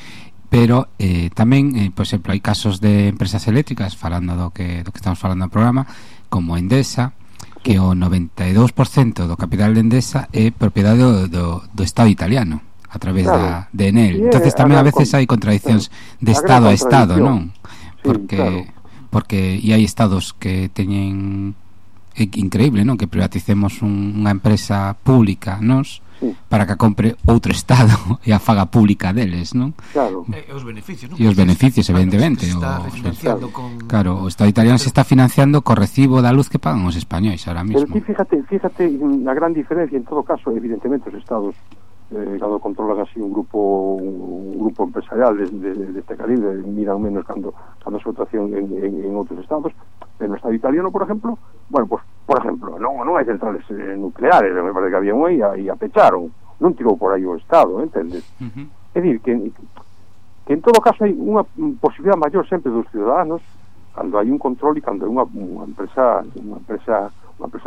pero tamén, por exemplo, hai casos de empresas eléctricas, falando do que estamos falando no programa, como Endesa, que o 92% do capital de Endesa é propiedade do Estado italiano a través de Enel. Entonces tamén a veces hai contradiccións de Estado a Estado, non? Porque hai estados que teñen, é increíble, non? Que privaticemos unha empresa pública, nos, para que a compre outro Estado e a faga pública deles, non? Claro. E os beneficios, non? E os beneficios, evidentemente. Claro, o Estado italiano se está financiando co recibo da luz que pagan os españois ahora mismo. Pero fíjate a gran diferencia, en todo caso, evidentemente os Estados cando controlan así un grupo empresarial de este calibre, miran menos cando a súa actuación en outros estados. En o estado italiano, por exemplo, bueno, pues, por exemplo, non hai centrales nucleares, me parece que había unha e a pecharon, non tirou por aí o estado, entendes? É dicir, que en todo caso hai unha posibilidade maior sempre dos ciudadanos cando hai un control e cando hai unha empresa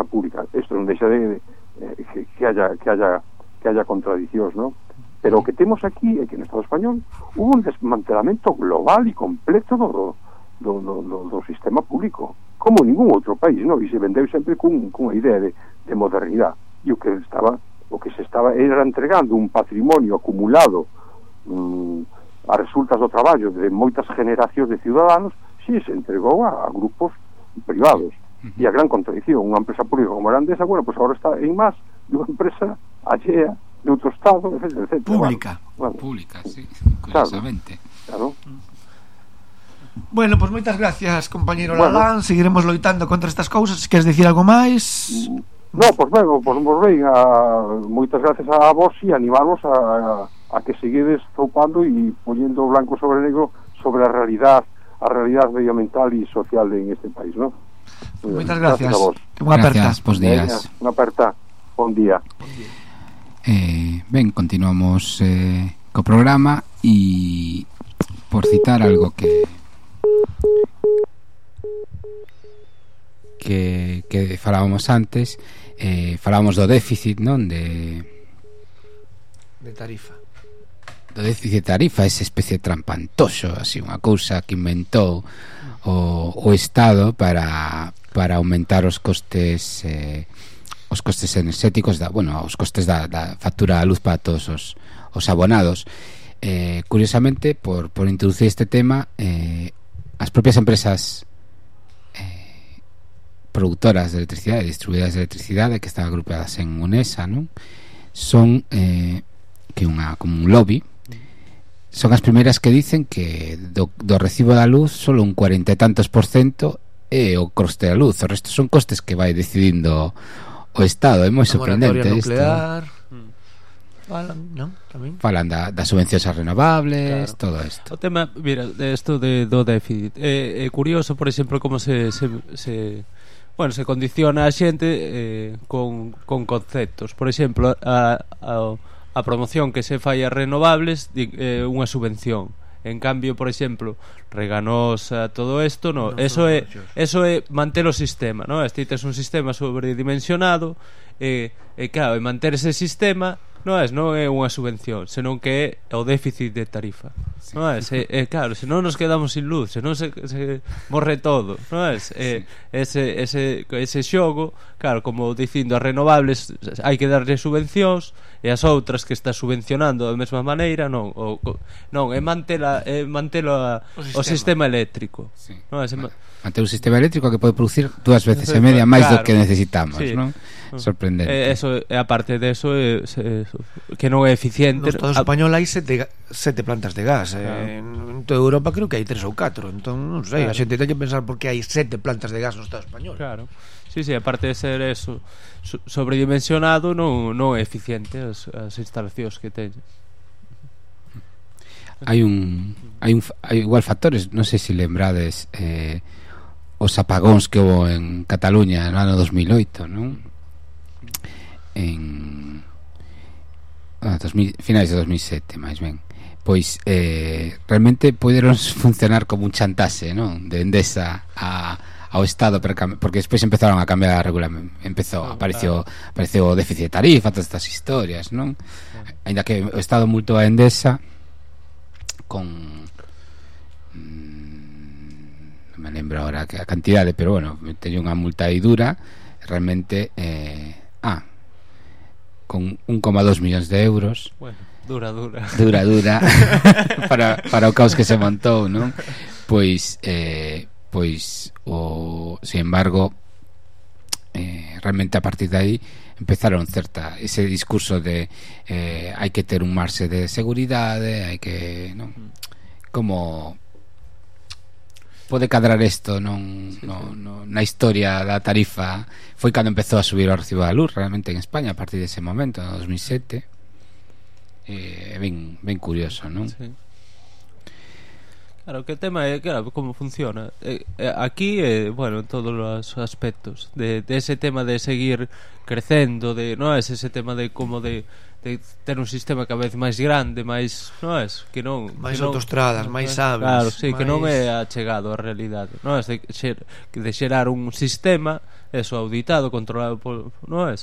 pública. Isto non deixa de que haya contradicións, ¿no? Pero o que temos aquí é que no Estado español hubo un desmantelamento global e completo do sistema público, como ningún outro país, ¿no? E se vendeu sempre cunha idea de modernidade. E o que se estaba era entregando un patrimonio acumulado a resultas do traballo de moitas generacións de ciudadanos, si se entregou a grupos privados. E a gran contradición, unha empresa pública como a Endesa, bueno, pues agora está en más de unha empresa allea de outro estado, etc. Pública. Pública, sí, curiosamente. Claro. Bueno, pues moitas gracias, compañeiro Lalán. Seguiremos loitando contra estas cousas. Se queres dicir algo máis? No, pues ben, moitas gracias a vos e animarvos a que seguides zoupando e poñendo blanco sobre negro sobre a realidade medioambiental e social en este país, ¿no? Moitas gracias. Unha aperta. Bos días. Unha aperta. Bon día. Ben, continuamos co programa e por citar algo que falábamos antes, falábamos do déficit, non? De tarifa. Do déficit de tarifa, esa especie de trampantoso, así unha cousa que inventou o Estado para aumentar os costes enerxéticos os costes da factura da luz para todos os abonados. Curiosamente, por introducir este tema, as propias empresas produtoras de electricidade, distribuidoras de electricidade, que están agrupadas en UNESA, non? Son como un lobby. Son as primeiras que dicen que do recibo da luz solo un 40 e tantos % é o coste da luz, o resto son costes que vai decidindo o Estado. É moi sorprendente isto. Falan das subvencións a renovables, claro. Todo isto. O tema, mira, isto do déficit é curioso, por exemplo, como se condiciona a xente con conceptos. Por exemplo, a promoción que se fai a renovables unha subvención. En cambio, por exemplo, Reganosa, todo isto, no, eso é manter o sistema, no? Este tes un sistema sobredimensionado e claro, manter ese sistema non é unha subvención, senón que é o déficit de tarifa. Sí. Non é? Claro, se non nos quedamos sin luz, se non se morre todo, non é? Ese xogo, claro, como dicindo as renovables hai que darlle subvencións e as outras que está subvencionando da mesma maneira non é mantela o sistema eléctrico. Sí. Non é? Manter un sistema eléctrico que pode producir 2 veces e media máis do que necesitamos, sí. Non? Sorprendente. Eso, a parte de eso, que non é eficiente. No Estado español hai 7 plantas de gas, en toda Europa creo que hai 3 ou 4. Entón, non sei, a xente ten que pensar por que hai 7 plantas de gas no Estado español. Claro. Sí, aparte de ser eso sobredimensionado, non é eficiente as instalacións que teñen. Hai igual factores, non sei se lembrades os apagóns que houve en Cataluña no ano 2008, non? En finais de 2007, máis ben. Pois realmente poderon funcionar como un chantaxe, non? De Endesa ao Estado, porque despois empezaron a cambiar a regulamento, apareceu o déficit de tarifa, todas estas historias, non? Ainda que o Estado multou a Endesa con non me lembro agora a cantidade, pero bueno, teño unha multa aí dura, realmente con 1,2 millóns de euros. Bueno, dura para o caos que se montou, non? Pois sin embargo realmente a partir de aí empezaron ese discurso de hai que ter un marxe de seguridade, hai que, non? Como pode cadrar isto na historia da tarifa. Foi cando empezou a subir o recibo da luz realmente en España a partir dese momento, en 2007. ben curioso, non? Sí. Claro, que o tema é claro, como funciona aquí, bueno, en todos os aspectos de ese tema de seguir crecendo, de non é ese tema de como de ter un sistema cada vez máis grande, máis, non é, que non máis que non, autoestradas, máis aves, claro, sí, máis... que non é achegado á realidade, non é de xerar un sistema eso auditado, controlado por, non é,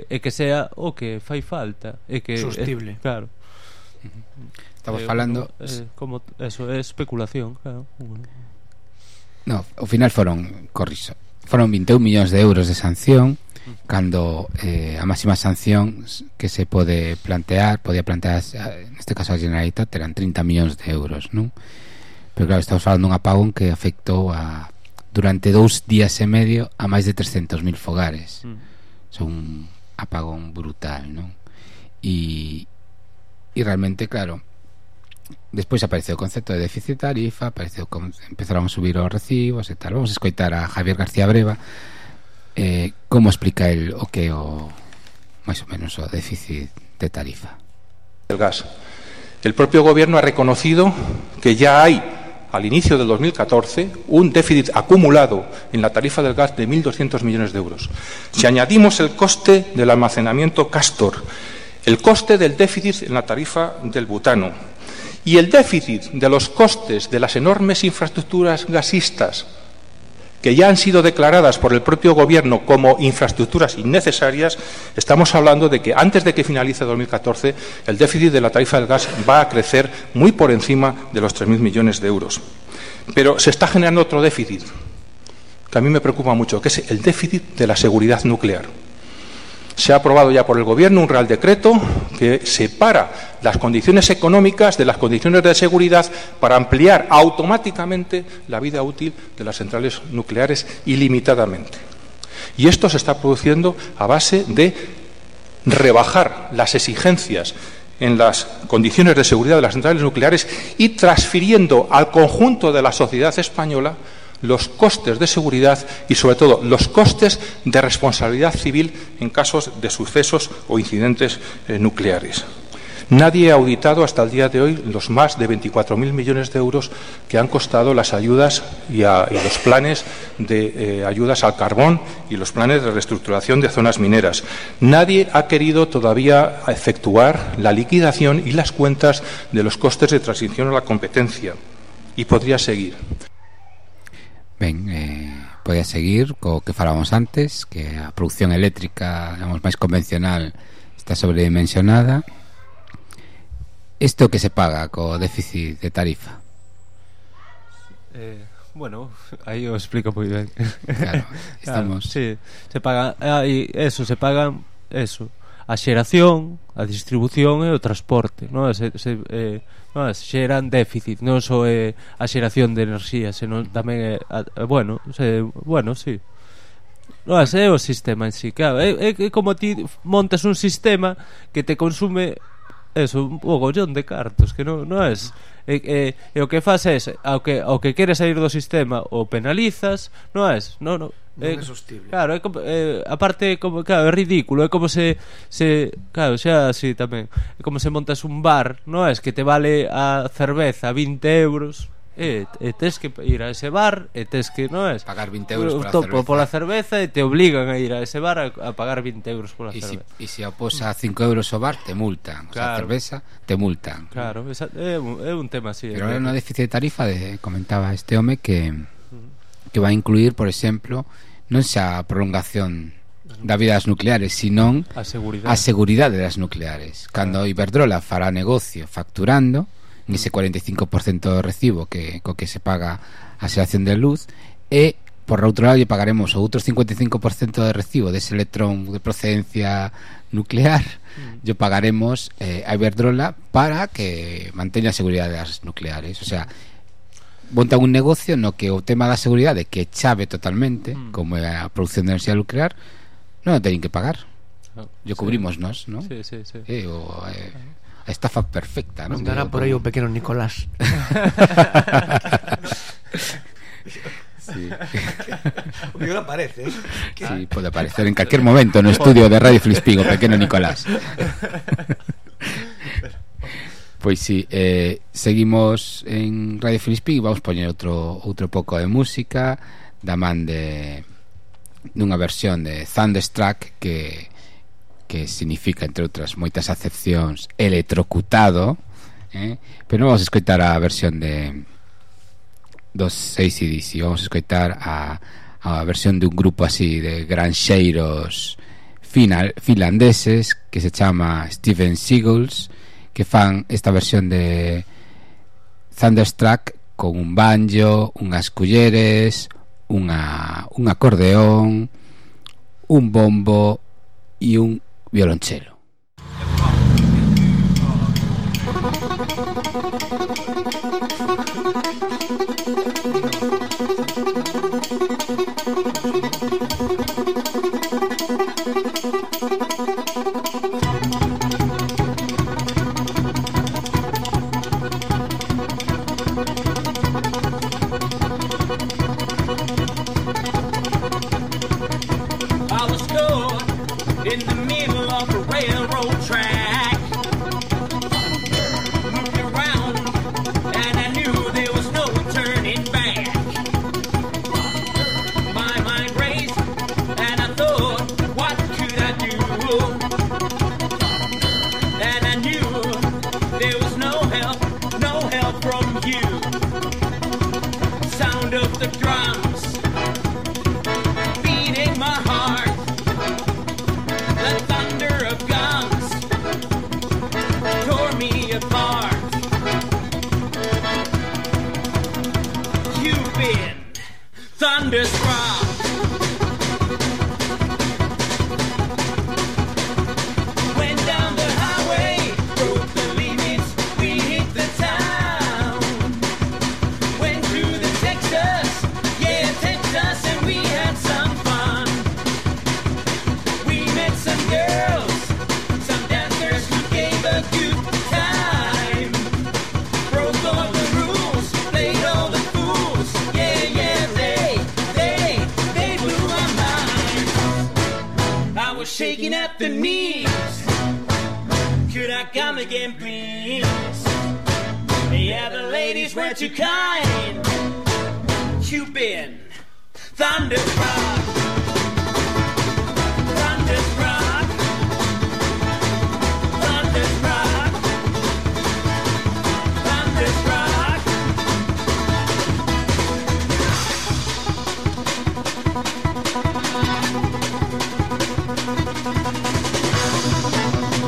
e que sea o que fai falta, e que sostible, claro. Estamos falando como eso é especulación, claro. No, ao final foron 21 millóns de euros de sanción, cando a máxima sanción que se podía plantear neste caso a Generalitat eran 30 millóns de euros, non? Pero claro, estamos falando dun apagón que afectou durante 2 días e medio a máis de 300.000 fogares. Son un apagón brutal, non? E realmente, claro, despois apareceu o concepto de déficit tarifa, empezaron a subir os recibos e tal. Vamos a escoitar a Javier García Breva como explica el o que máis ou menos o déficit de tarifa. El gas. El propio gobierno ha reconocido que ya hay al inicio del 2014 un déficit acumulado en la tarifa del gas de 1.200 millones de euros. Si añadimos el coste del almacenamiento Castor, el coste del déficit en la tarifa del butano y el déficit de los costes de las enormes infraestructuras gasistas que ya han sido declaradas por el propio gobierno como infraestructuras innecesarias, estamos hablando de que antes de que finalice 2014 el déficit de la tarifa del gas va a crecer muy por encima de los 3.000 millones de euros. Pero se está generando otro déficit que a mí me preocupa mucho, que es el déficit de la seguridad nuclear. Se ha aprobado ya por el Gobierno un Real Decreto que separa las condiciones económicas de las condiciones de seguridad para ampliar automáticamente la vida útil de las centrales nucleares ilimitadamente. Y esto se está produciendo a base de rebajar las exigencias en las condiciones de seguridad de las centrales nucleares y transfiriendo al conjunto de la sociedad española los costes de seguridad y, sobre todo, los costes de responsabilidad civil en casos de sucesos o incidentes nucleares. Nadie ha auditado hasta el día de hoy los más de 24.000 millones de euros que han costado las ayudas y los planes de ayudas al carbón y los planes de reestructuración de zonas mineras. Nadie ha querido todavía efectuar la liquidación y las cuentas de los costes de transición a la competencia. Y podría seguir. Ben, podía seguir co que falábamos antes, que a produción eléctrica, digamos, máis convencional está sobredimensionada. Isto que se paga co déficit de tarifa? Bueno, aí o explico moi ben. Claro, estamos... Claro, sí, se paga, se pagan a xeración, a distribución e o transporte, non? Xeran déficit, non só a xeración de enerxía, senón tamén sí. Non é o sistema en sí, claro, é como ti montas un sistema que te consume un mogollón de cartos, que non é e o que faz é ao que queres sair do sistema o penalizas, non é sostible. Claro, aparte como, claro, é ridículo, é como se claro, xa así tamén. É como se montas un bar, non é que te vale a cerveza 20 euros e tes que ir a ese bar e tes que, non é? Pagar 20 euros pola cerveza e te obligan a ir a ese bar a pagar 20 euros pola cerveza. E se opos a 5 euros o bar, te multan. Claro. O sea, a cerveza, te multan. Claro, é un tema así. Pero é unha déficit de tarifa comentaba este home que vai incluir, por exemplo, non xa a prolongación da vida das nucleares, senón a seguridade das nucleares. Cando Iberdrola fará negocio facturando nese 45% do recibo co que se paga a xeración de luz, e por outro lado lle pagaremos o outro 55% de recibo dese electrón de procedencia nuclear, lle pagaremos a Iberdrola para que manteña a seguridade das nucleares. O sea, montan un negocio no que o tema da seguridade, que é chave totalmente, como é a produción de enerxía nuclear, non o teñen que pagar. Yo cubrimos nós, non? Sí. A estafa perfecta, non? Andará por aí o pequeno Nicolás. Sí. O mellor aparece, Sí, pode aparecer en calquer momento no estudio de Radio Filispín o pequeno Nicolás. Pois si, seguimos en Radio Filispín. Vamos poñer outro pouco de música da man dunha versión de Thunderstruck que significa, entre outras moitas acepcións, electrocutado, pero non vamos a escoitar a versión dos AC/DC. Vamos a escoitar a versión de un grupo así de granxeiros finlandeses que se chama Steven Seagulls, que fan esta versión de Thunderstruck con un banjo, unhas culleres, un acordeón, un bombo e un violonchelo. Shaking at the knees. Could I come again, please? Yeah, the ladies were too kind. You've been thunderstruck, thunderstruck, thunderstruck, thunderstruck.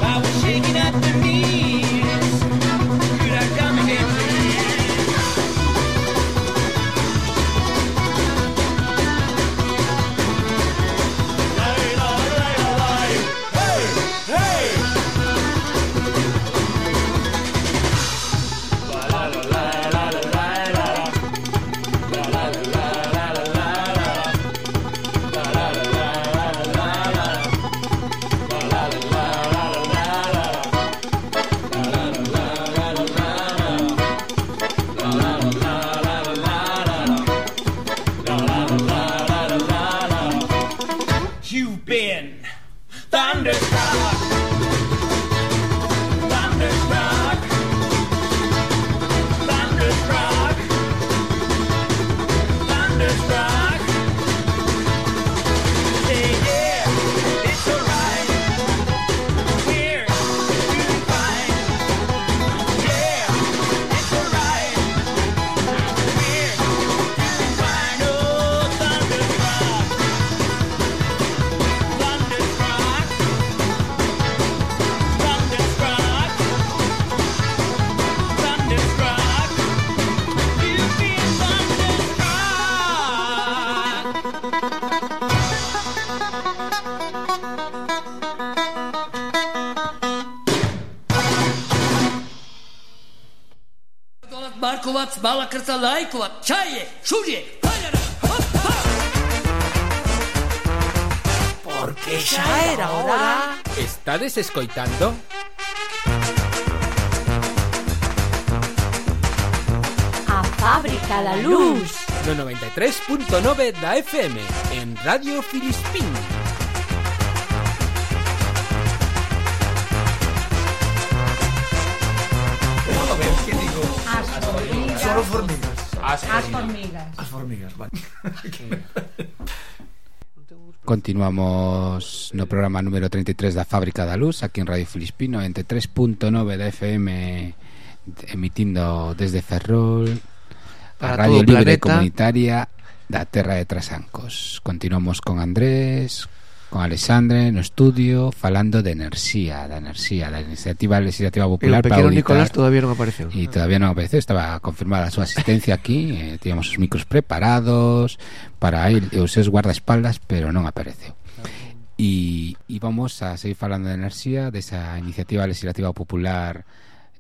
I was shaking at the knees. Could I come again, please? Hey, hey. You've been thunderstruck, thunderstruck, thunderstruck, thunderstruck. Say yeah, it's alright. We're doing fine. Yeah, it's alright. We're doing fine. Oh, thunderstruck. Thunderstruck, thunderstruck, thunderstruck, you've been thunderstruck. Markovac, Malakrta, Lajkovac, Čaje, Šulje, Paljara, hop, hop. Porque xa era hora. Estades escoitando? A Fábrica da Luz. No 93.9 da FM en Radio Filispín. formigas. As formigas, vale. Continuamos no programa número 33 da Fábrica da Luz, aquí en Radio Filispino, entre 3.9 da FM, emitindo desde Ferrol, a Radio Libre Comunitaria da Terra de Trasancos. Continuamos con Andrés, con Alexandre no estudio, falando de enerxía, da iniciativa legislativa popular para auditar. Nicolás todavía non apareceu. E todavía non apareceu, estaba confirmada a súa asistencia aquí, tíamos os micros preparados para ir os seus guardaespaldas, pero non apareceu. E vamos a seguir falando de enerxía, desa iniciativa legislativa popular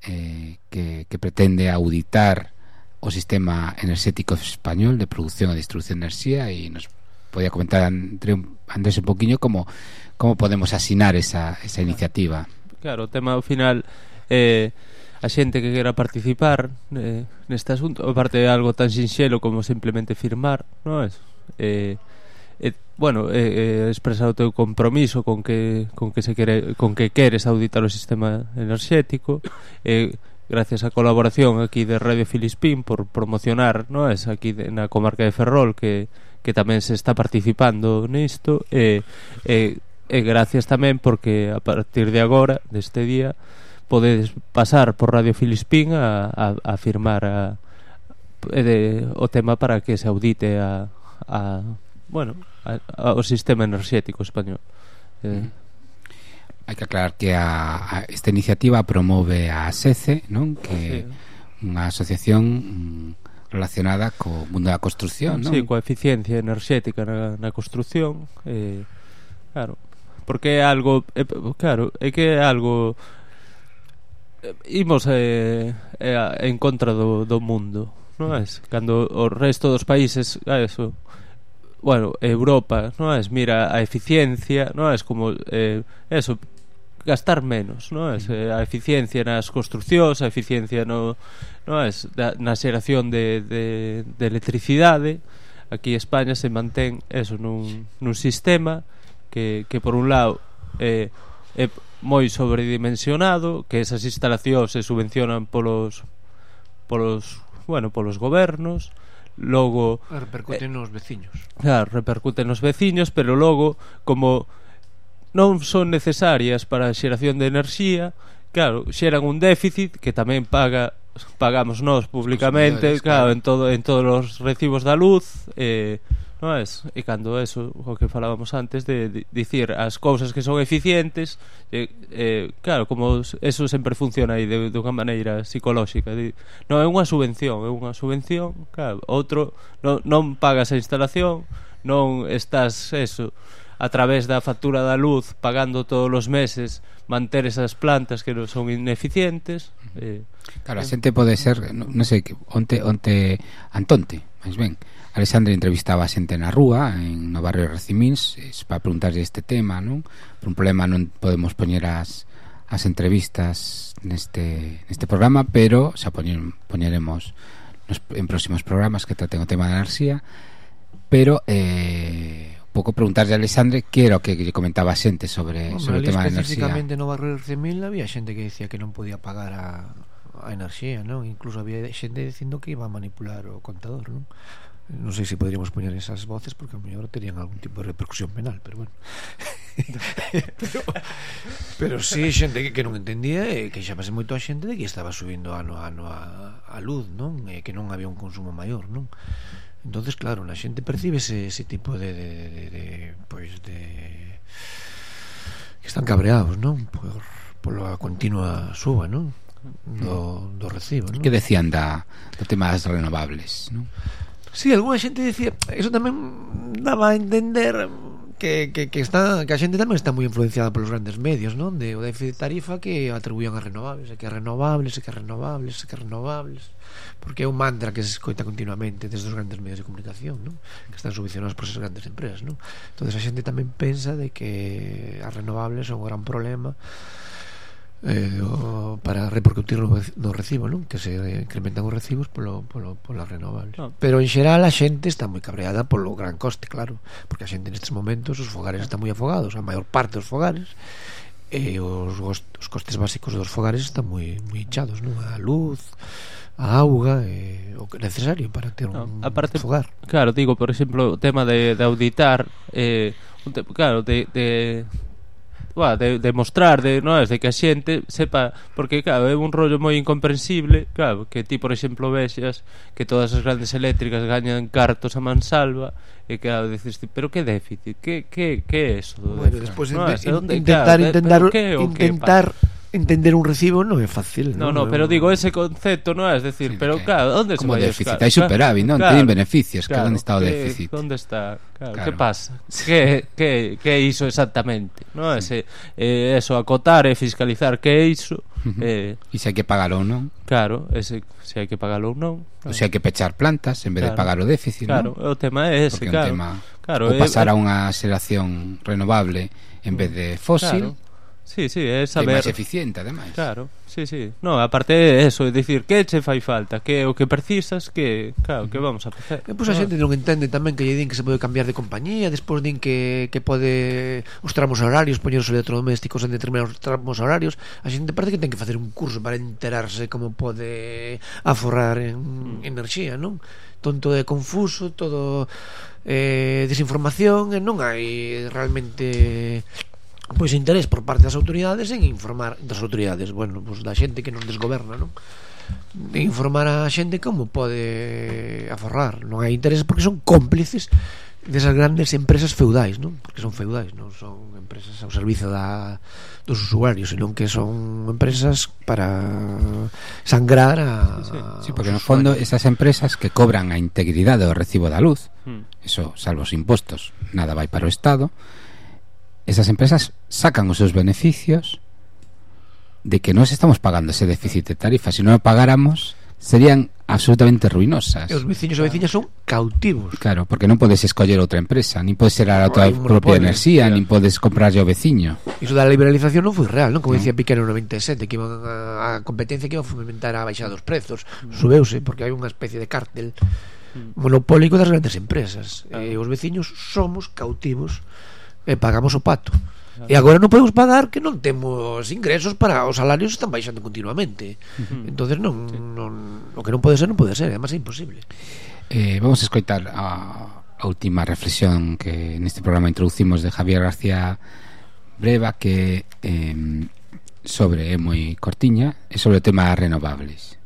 que pretende auditar o sistema enerxético español de produción e distribución de enerxía, e nos podía comentar Andrés un poquinho como podemos asinar esa iniciativa. Claro, o tema ao final a xente que quera participar neste asunto, aparte de algo tan sinxelo como simplemente firmar, non é? Expresar o teu compromiso con que queres auditar o sistema enerxético, gracias á colaboración aquí de Radio Filispín por promocionar, non é, aquí na comarca de Ferrol que tamén se está participando nisto, e gracias tamén porque a partir de agora, deste día, podedes pasar por Radio Filispín a firmar o tema para que se audite o sistema enerxético español. Hai que aclarar que esta iniciativa promove a SECE, non? Que unha asociación relacionada co mundo da construción, non? Sí, coa eficiencia enerxética na construción, claro, porque é algo imos en contra do mundo, non é? Cando o resto dos países, Europa, non é? Mira a eficiencia, non é? Como gastar menos, non é? A eficiencia nas construcións, a eficiencia na xeración de electricidade. Aquí España se mantén nun sistema que por un lado é moi sobredimensionado, que esas instalacións se subvencionan polos gobernos, logo repercuten nos veciños. Claro, repercuten nos veciños, pero logo como non son necesarias para a xeración de enerxía, claro, xeran un déficit que tamén pagamos nós públicamente, claro, en todos os recibos da luz, non é? E cando eso, o que falábamos antes de dicir as cousas que son eficientes, claro, como eso sempre funciona aí de unha maneira psicolóxica, non é unha subvención, claro, outro non pagas a instalación, non estás a través da factura da luz pagando todos os meses manter esas plantas que non son ineficientes. Claro, a xente pode ser, non sei, onte Antonte, máis ben, Alexandre entrevistaba a xente na rúa no barrio de Recimíns para preguntarlle este tema, non? Por un problema non podemos poñer as entrevistas neste programa, pero xa poñeremos en próximos programas que traten o tema da enerxía, pero pouco preguntarlle a Alexandre que era o que lle comentaba a xente sobre o tema da enerxía. Especificamente no barrio de Recimín había xente que decía que non podía pagar a enerxía, non? Incluso había xente dicindo que iba a manipular o contador, non? Non sei se poderíamos poñer esas voces porque a mellor terían algún tipo de repercusión penal, pero bueno. pero sí, xente que non entendía e que chamase moito a xente de que estaba subindo ano a ano a luz, non? E que non había un consumo maior, non? Entonces, claro, a xente percibe ese tipo de que están cabreados, non? Por a continua suba, non? Do recibo, non? Que decían do tema das renovables, non? Sí, alguna xente decía, eso tamén daba a entender que a xente tamén está moi influenciada polos grandes medios, non? O déficit de tarifa que atribuían a renovables, porque é un mantra que se escoita continuamente desde os grandes medios de comunicación, non? Que están subvencionados por esas grandes empresas, non? Entonces a xente tamén pensa de que as renovables son un gran problema para repercutir no recibo, non? Que se incrementan os recibos polas renovables. Pero en xeral a xente está moi cabreada polo gran coste, claro, porque a xente nestes momentos os fogares están moi afogados, a maior parte dos fogares, e os costes básicos dos fogares están moi hinchados, non? A luz, a auga, o que é necesario para ter un fogar. Claro, digo, por exemplo, o tema de auditar, claro, de mostrar, de que a xente sepa, porque claro, é un rollo moi incomprensible, claro, que ti, por exemplo, vexas que todas as grandes eléctricas gañan cartos a mansalva, e claro, dices, pero que déficit, que é eso? Bueno, despois intentar entender un recibo non é fácil, non, pero digo, ese concepto non é, decir, pero claro, onde se vai déficit? Hai superávit, non? Teñen beneficios, claro, onde está o déficit? Onde está? Claro, que pasa? Que é iso exactamente? Non é eso, acotar e fiscalizar que é iso. E se hai que pagar ou non? Claro, se hai que pagar ou non. Ou se hai que pechar plantas en vez de pagar o déficit, non? Claro, o tema é ese, claro. Ou pasar a unha xeración renovable en vez de fósil. Sí, é saber. É máis eficiente, ademais. Claro, sí. No, aparte é eso, é dicir, que che fai falta, que o que precisas, que, claro, que vamos a facer. Pois a xente non entende tamén que lle din que se pode cambiar de compañía, despois din que pode os tramos horarios, poñer os electrodomésticos en determinados tramos horarios. A xente parece que ten que facer un curso para enterarse como pode aforrar en enerxía, non? Tonto e confuso, todo desinformación, e non hai realmente pois interés por parte das autoridades en informar das autoridades, bueno, pois da xente que nos desgoberna, non? De informar a xente como pode aforrar. Non hai interés porque son cómplices desas grandes empresas feudais, non? Porque son feudais, non son empresas ao servizo dos usuarios, senón que son empresas para sangrar Sí, porque no fondo esas empresas que cobran a integridade do recibo da luz, eso, salvo os impostos, nada vai para o Estado. Esas empresas sacan os seus beneficios de que nós estamos pagando ese déficit de tarifa. Se non o pagáramos, serían absolutamente ruinosas. E os veciños e veciñas son cautivos. Claro, porque non podes escoller outra empresa, nin podes xerar a tua propia enerxía, nin podes comprarlle ao veciño. Iso da liberalización non foi real, non? Como dicía Piqué no 97, que iban a competencia que iba a fomentar a baixada dos prezos. Subeuse, porque hai unha especie de cártel monopólico das grandes empresas. E os veciños somos cautivos e pagamos o pato. E agora non podemos pagar que non temos ingresos, para os salarios están baixando continuamente. Entonces non, o que non pode ser, además é imposible. Vamos a escoitar a última reflexión que neste programa introducimos de Javier García Breva, que sobre é moi cortiña, é sobre o tema das renovables.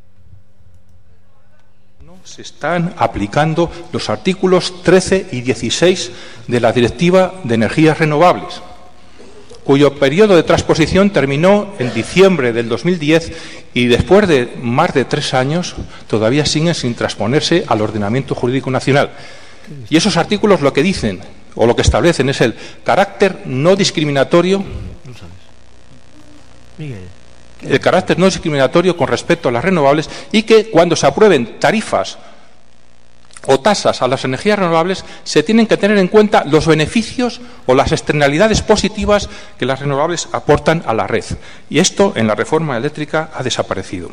Se están aplicando los artículos 13 y 16 de la Directiva de Energías Renovables, cuyo periodo de transposición terminó en diciembre del 2010 y después de más de 3 años todavía siguen sin transponerse al ordenamiento jurídico nacional. Y esos artículos lo que dicen o lo que establecen es el carácter no discriminatorio. El carácter no discriminatorio con respecto a las renovables, y que cuando se aprueben tarifas o tasas a las energías renovables se tienen que tener en cuenta los beneficios o las externalidades positivas que las renovables aportan a la red. Y esto en la reforma eléctrica ha desaparecido.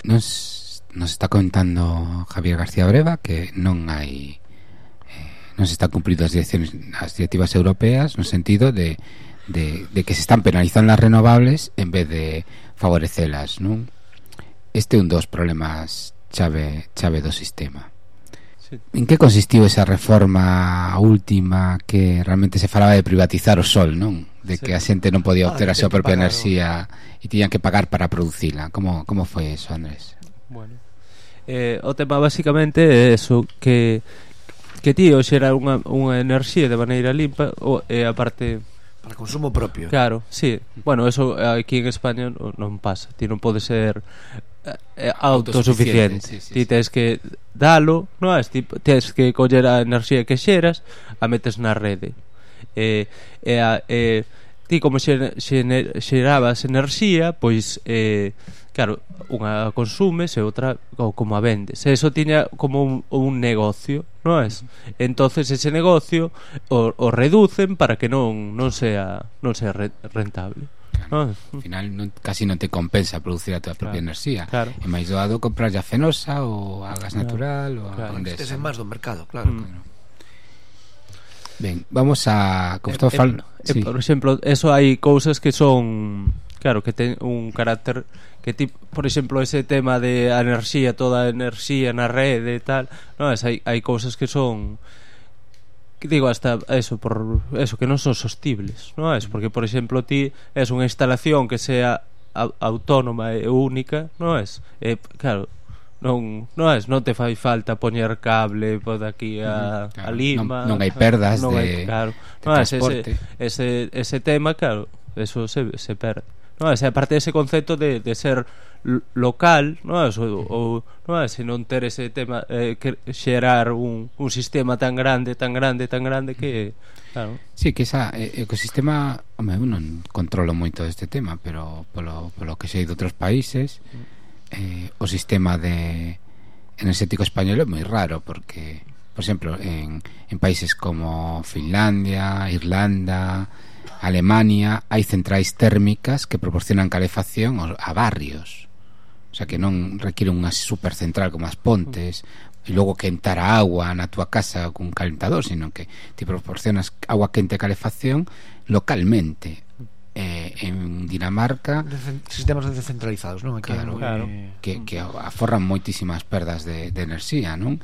Nos está contando Javier García Breva que non se están cumplindo as directivas europeas no sentido de que se están penalizando as renovables en vez de favorecelas, non? Este é un dos problemas chave do sistema. Sí. En que consistiu esa reforma última que realmente se falaba de privatizar o sol, non? De que a xente non podía obter a súa propia enerxía e tiñan que pagar para producila. Como foi eso, Andrés? Bueno, o tema basicamente é eso, que tío xera unha enerxía de maneira limpa e aparte para consumo propio. Claro, sí. Bueno, eso aquí en España non pasa. Ti non pode ser autosuficiente. Ti tens que dalo, non é? Ti tens que coller a enerxía que xeras, a metes na rede. Ti como xerabas enerxía, pois claro, unha consumes e outra como a vendes. E eso tiña como un negocio, non é? Entonces ese negocio o reducen para que non sea rentable. Claro. Al final casi non te compensa producir a tua propia enerxía. Claro. É máis doado comprar a fenosa ou a gas natural ou a Endesa. Este é máis do mercado, claro. Ben, vamos a... Como estaba falando... Sí. Por exemplo, eso hai cousas que son... Claro, que ten un carácter que por exemplo, ese tema de a enerxía, toda a enerxía na rede e tal, non, hai cousas que son, que digo, hasta eso, por eso, que non son sostibles, non é? Porque, por exemplo, ti es unha instalación que sea autónoma e única, non é? Claro, non te fai falta poñer cable por aquí a Lima, non hai perdas de transporte. Ese tema, claro, eso se perde, non é? Aparte dese concepto de ser local, non é? Ou non é? Se non ter ese tema, que xerar un sistema tan grande que, claro. Sí, que esa ecosistema, home, eu non controlo moito deste tema, pero polo que sei de outros países, o sistema enerxético español é moi raro, porque, por exemplo, en países como Finlandia, Irlanda, Alemania, hai centrais térmicas que proporcionan calefacción a barrios, o sea, que non requiere unha supercentral como as Pontes e logo quentar a agua na túa casa cun calentador, sino que te proporcionas agua quente e calefacción localmente. En Dinamarca sistemas descentralizados, non? Claro. Que aforran moitísimas perdas de enerxía, non?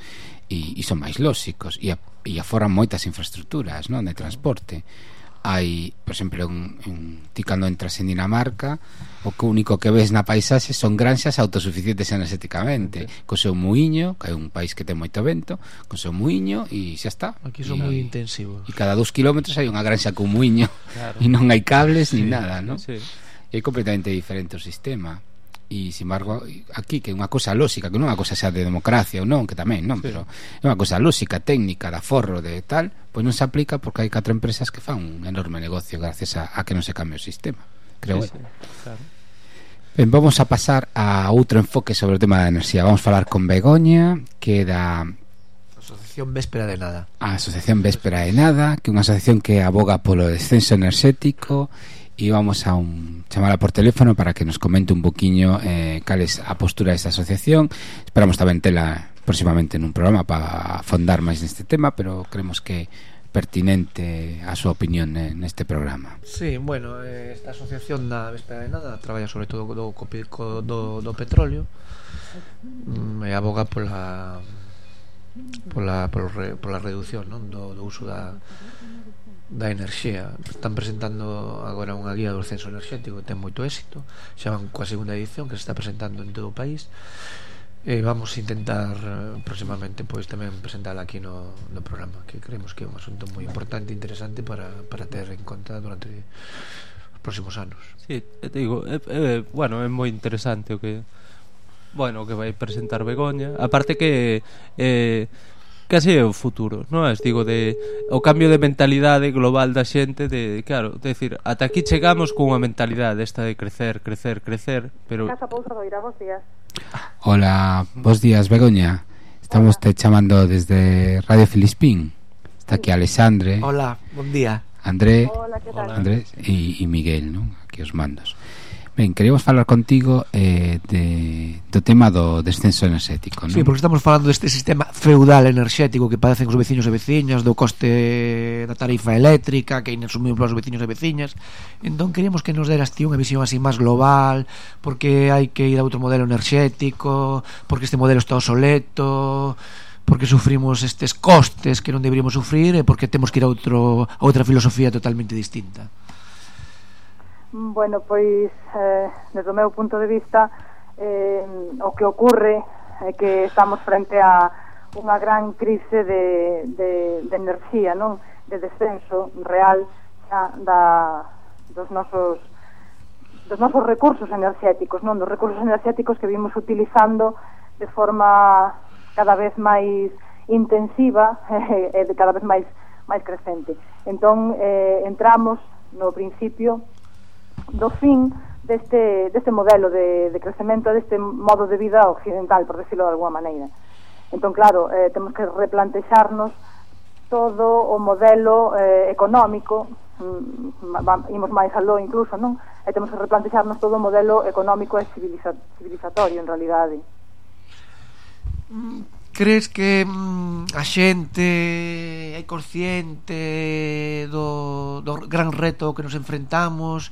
E son máis lóxicos e aforran moitas infraestructuras, non? De transporte. Hai, por exemplo, ti cando entras en Dinamarca, o que único que ves na paisaxe son granxas autosuficientes enerxéticamente, co seu muiño, que é un país que ten moito vento, co seu muiño, e xa está. Aquí son moi intensivos. E cada 2 kilómetros hai unha granxa con muiño, e non hai cables ni nada, non? Sí. É completamente diferente o sistema. E, sin embargo, aquí, que é unha cousa lóxica, que non é unha cousa xa de democracia ou non, que tamén, non, pero é unha cousa lóxica, técnica, de aforro, de tal, pois non se aplica porque hai 4 empresas que fan un enorme negocio gracias a que non se cambie o sistema, creo eu. Claro. Ben, vamos a pasar a outro enfoque sobre o tema da enerxía. Vamos falar con Begoña, que é da Asociación Véspera de Nada. A Asociación Véspera de Nada, que é unha asociación que aboga polo descenso enerxético, e vamos a chamala por teléfono para que nos comente un poquinho cal é a postura desta asociación. Esperamos tamén tela próximamente nun programa para fondar máis neste tema, pero creemos que pertinente a súa opinión neste programa. Sí, bueno, esta asociación da Véspera de Nada traballa sobre todo do petróleo, e aboga pola reducción, non? do uso da enerxía. Están presentando agora unha guía do descenso enerxético que ten moito éxito, xa van coa segunda edición que se está presentando en todo o país, e vamos a intentar próximamente pois tamén presentala aquí no programa, que creemos que é un asunto moi importante e interesante para ter en conta durante os próximos anos. Sí, te digo, bueno, é moi interesante o que vai presentar Begoña, aparte que case é o futuro, non é? Digo, o cambio de mentalidade global da xente, claro, decir, ata aquí chegamos cunha mentalidade esta de crecer, pero... Casa Pousa Doira, bos días. Hola, bos días, Begoña. Estamos te chamando desde Radio Filispín. Está aquí Alexandre. Hola, bon día. André. Hola, que tal? Andrés e Miguel, non? Aquí os mandos. Ben, queríamos falar contigo do tema do descenso enerxético, non? Sí, porque estamos falando deste sistema feudal enerxético que padecen os veciños e veciñas, do coste da tarifa eléctrica que é inasumible para os veciños e veciñas. Entón queríamos que nos deras ti unha visión así máis global, porque hai que ir a outro modelo enerxético, porque este modelo está obsoleto, porque sufrimos estes costes que non deberíamos sufrir, e porque temos que ir a outra filosofía totalmente distinta. Bueno, pois desde o meu punto de vista o que ocorre é que estamos frente a unha gran crise de enerxía, non? De descenso real xa dos nosos recursos enerxéticos, non? Dos recursos enerxéticos que vimos utilizando de forma cada vez máis intensiva e cada vez máis crecente. Entón entramos no principio do fin deste modelo de crecemento, deste modo de vida occidental, por decirlo de alguma maneira. Entón, claro, temos que replantexarnos todo o modelo económico, imos máis aló incluso, non? E temos que replantexarnos todo o modelo económico e civilizatorio, en realidade. crees que a xente é consciente do gran reto que nos enfrentamos?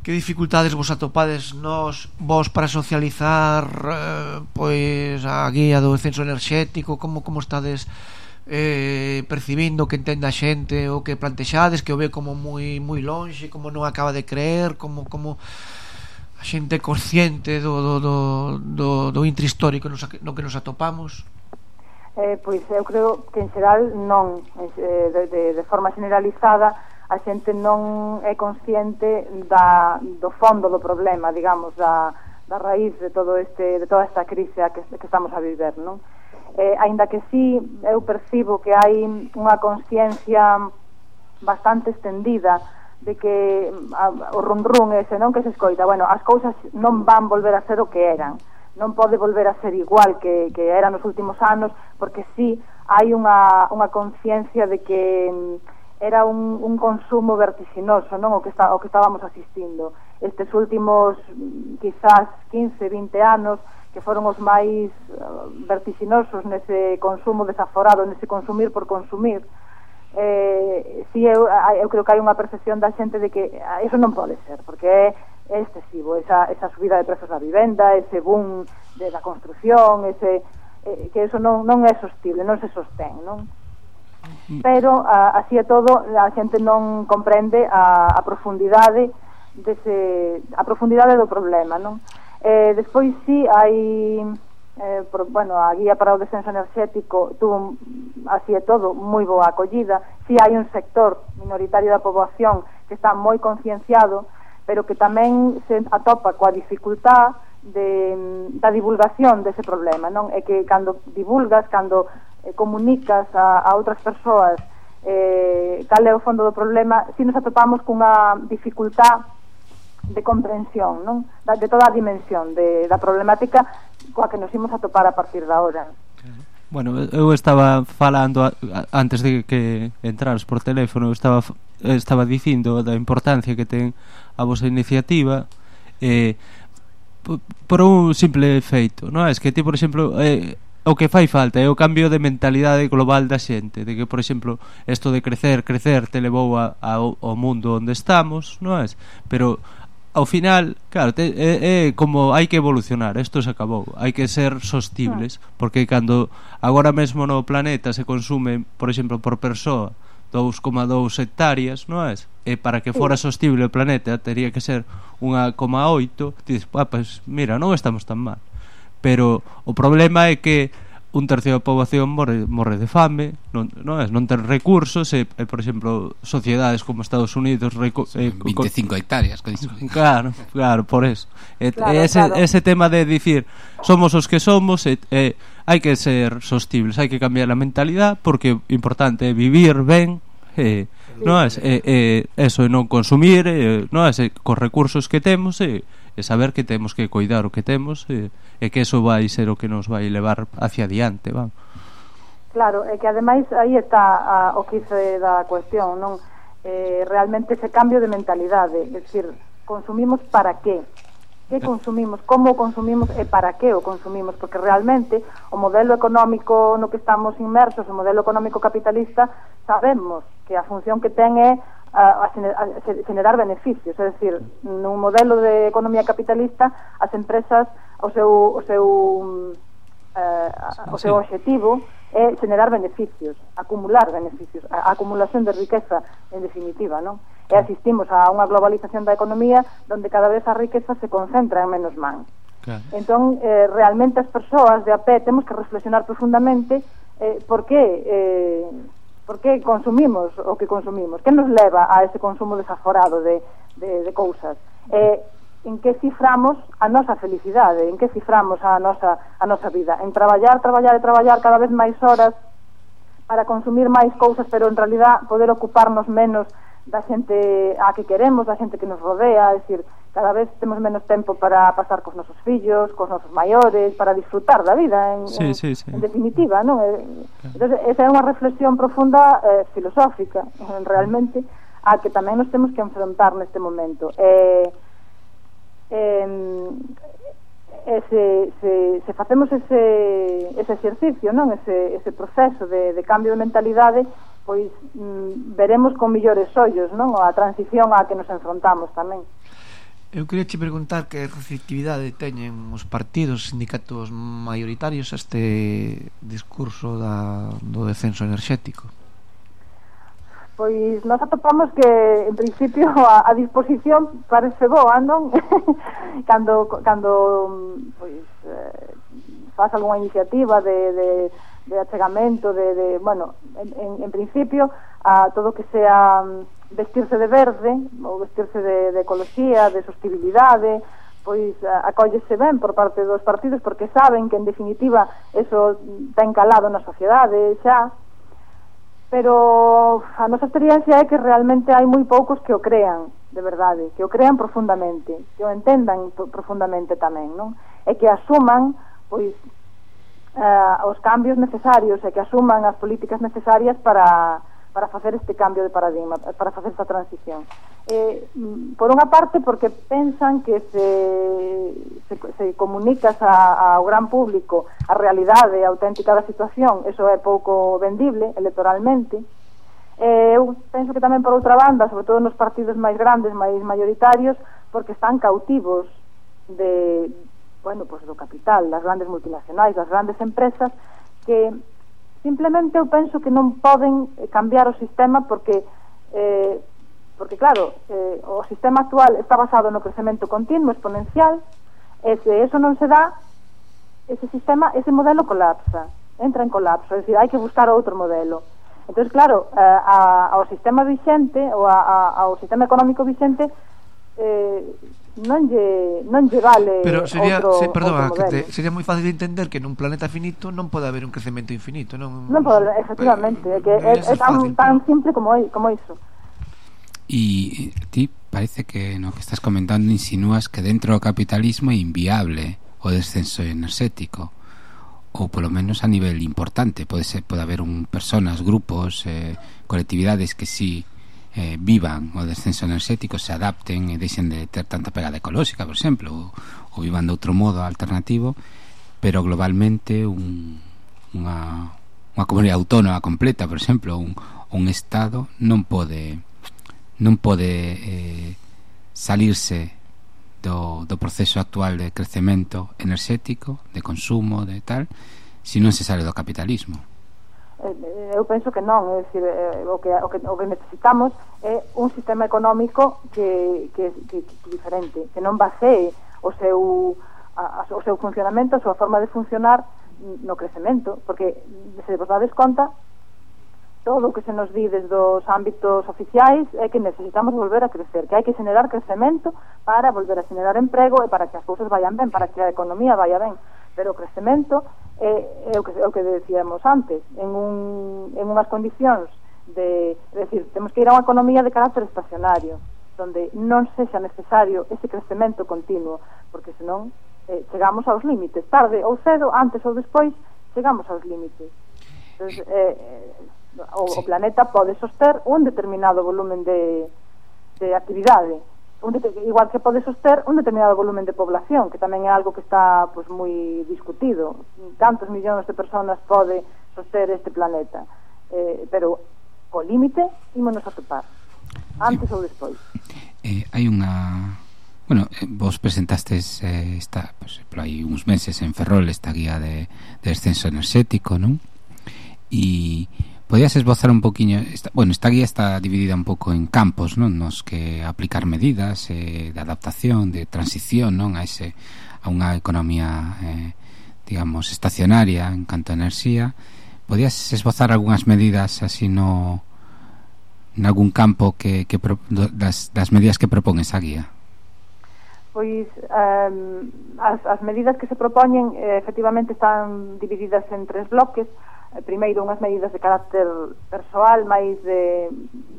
Que dificultades vos atopades vos para socializar pois a guía do censo enerxético? Como estades percibindo que entende a xente o que plantexades, que o ve como moi lonxe, como non acaba de creer, como a xente consciente do intre histórico no que nos atopamos? Pois eu creo que en xeral non, de forma generalizada a xente non é consciente do fondo do problema, digamos, da raíz de toda esta crise que estamos a viver, non? Aínda que sí, eu percibo que hai unha consciencia bastante extendida de que o run ese, non, que se escoita, bueno, as cousas non van volver a ser o que eran, non pode volver a ser igual que eran nos últimos anos, porque sí hai unha consciencia de que era un consumo vertiginoso, non, o que estábamos asistindo estes últimos quizás 15, 20 anos, que foron os máis vertiginosos nese consumo desaforado, nese consumir por consumir. Si eu creo que hai unha percepción da xente de que eso non pode ser, porque é excesivo esa subida de prezos da vivenda, ese boom da construción, que eso non é sostible, non se sostén, non? Pero así é todo, a xente non comprende a profundidade do problema, non? Despois sí hai a guía para o descenso enerxético tuvo, así é todo, moi boa acollida. Sí hai un sector minoritario da poboación que está moi concienciado, pero que tamén se atopa coa dificultad da divulgación dese problema, non? É que cando divulgas, cando comunicas a outras persoas cal é o fondo do problema, si nos atopamos cunha dificultad de comprensión, non? De toda a dimensión da problemática coa que nos imos atopar a partir da hora. Bueno, eu estaba falando antes de que entraras por teléfono, estaba dicindo da importancia que ten a vosa iniciativa por un simple feito, non? É que ti, por exemplo, o que fai falta é o cambio de mentalidade global da xente, de que, por exemplo, isto de crecer te levou ao mundo onde estamos, non é? Pero ao final, claro, é como hai que evolucionar, isto se acabou, hai que ser sostibles, porque cando agora mesmo no planeta se consume, por exemplo, por persoa 2,2 hectáreas, non é? E para que fora sostible o planeta teria que ser 1,8, dices, pues mira, non estamos tan mal. Pero o problema é que un tercio da poboación morre de fame, non ten recursos, por exemplo, sociedades como Estados Unidos 25 hectáreas claro, por eso ese tema de dicir somos os que somos, hai que ser sostibles, hai que cambiar a mentalidade, porque o importante é vivir ben, non é eso, non consumir, non é cos recursos que temos, saber que temos que cuidar o que temos, e que eso vai ser o que nos vai levar hacia adiante, vamos. Claro, é que ademais aí está o quice da cuestión, non? Realmente ese cambio de mentalidade, é dicir, consumimos para qué? Que consumimos, como consumimos e para que o consumimos, porque realmente o modelo económico no que estamos inmersos, o modelo económico capitalista, sabemos que a función que ten é a generar beneficios, é dicir, nun modelo de economía capitalista as empresas o seu obxectivo é generar beneficios, acumular beneficios, a acumulación de riqueza en definitiva, non? E asistimos a unha globalización da economía onde cada vez a riqueza se concentra en menos mans. Claro. Entón, realmente as persoas de a pé temos que reflexionar profundamente por que consumimos o que consumimos, que nos leva a ese consumo desaforado de cousas, en que ciframos a nosa felicidade, en que ciframos a nosa vida, en traballar cada vez máis horas para consumir máis cousas, pero en realidad poder ocuparnos menos da xente a que queremos, da xente que nos rodea, é dicir, cada vez temos menos tempo para pasar cos nosos fillos, cos nosos maiores, para disfrutar da vida en definitiva, non? Entón, esa é unha reflexión profunda filosófica, realmente, a que tamén nos temos que enfrontar neste momento. É se facemos ese exercicio, non, ese proceso de cambio de mentalidade, pois veremos con millores ollos, non, a transición á que nos enfrontamos tamén. Eu queria che preguntar que receptividade teñen os partidos, sindicatos maioritarios a este discurso do descenso enerxético. Pois nós atopamos que en principio a disposición parece boa, non? cando pois faz algunha iniciativa de achegamento bueno, en principio a todo que sea vestirse de verde ou vestirse de ecoloxía, de sostenibilidade, pois acóllese ben por parte dos partidos, porque saben que en definitiva eso ten calado na sociedade xa, pero a nosa experiencia é que realmente hai moi poucos que o crean de verdade, que o crean profundamente, que o entendan profundamente tamén, non? E que asuman pois os cambios necesarios e que asuman as políticas necesarias para facer este cambio de paradigma, para facer esta transición. Por unha parte, porque pensan que se comunicas ao gran público a realidade auténtica da situación, eso é pouco vendible electoralmente. Eu penso que tamén por outra banda, sobre todo nos partidos máis grandes, máis maioritarios, porque están cautivos do capital, das grandes multinacionais, das grandes empresas, que simplemente eu penso que non poden cambiar o sistema porque claro, o sistema actual está basado no crecemento continuo, exponencial, e se eso non se dá, ese modelo colapsa, entra en colapso, é dicir, hai que buscar outro modelo. Entón, claro, ao sistema vixente, ou ao sistema económico vixente, non lle vale. Pero sería, outro modelo. Sería moi fácil de entender que nun planeta finito non pode haber un crecemento infinito, non pode, efectivamente, é tan simple como iso. E ti parece que no que estás comentando insinúas que dentro do capitalismo é inviable o descenso enerxético, ou polo menos a nivel importante. Pode haber personas, grupos, colectividades que sí vivan o descenso enerxético, se adapten e deixen de ter tanta pegada ecolóxica, por exemplo, ou vivan de outro modo alternativo, pero globalmente unha comunidade autónoma completa, por exemplo, un Estado non pode salirse do proceso actual de crecemento enerxético, de consumo, de tal, se non se sale do capitalismo. Eu penso que non, é dicir, o que necesitamos é un sistema económico que diferente, que non basee o seu funcionamento, a súa forma de funcionar no crecemento, porque se vos dades conta, todo o que se nos di desde os ámbitos oficiais é que necesitamos volver a crecer, que hai que generar crecemento para volver a generar emprego e para que as cousas vayan ben, para que a economía vaya ben, pero o crecemento é o que decíamos antes, en unhas condicións de decir, temos que ir a unha economía de carácter estacionario, donde non sexa necesario ese crecemento continuo, porque senón chegamos aos límites, tarde ou cedo, antes ou despois, chegamos aos límites. Entonces, o planeta pode soster un determinado volumen de actividade, igual que pode soster un determinado volumen de población, que tamén é algo que está pues, moi discutido. Cantos millóns de personas pode soster este planeta, pero o límite ímonos a topar antes ou despois. Hai unha... Bueno, vos presentastes hai uns meses en Ferrol esta guía de descenso enerxético, non? E podías esbozar un poquinho esta guía está dividida un pouco en campos, non? Nos que aplicar medidas de adaptación, de transición, non? A unha economía digamos estacionaria en canto a enerxía. Podías esbozar algunhas medidas así en algún campo das medidas que propón esa guía? Pois as medidas que se propoñen efectivamente están divididas en 3 bloques. Primeiro, unhas medidas de carácter persoal, máis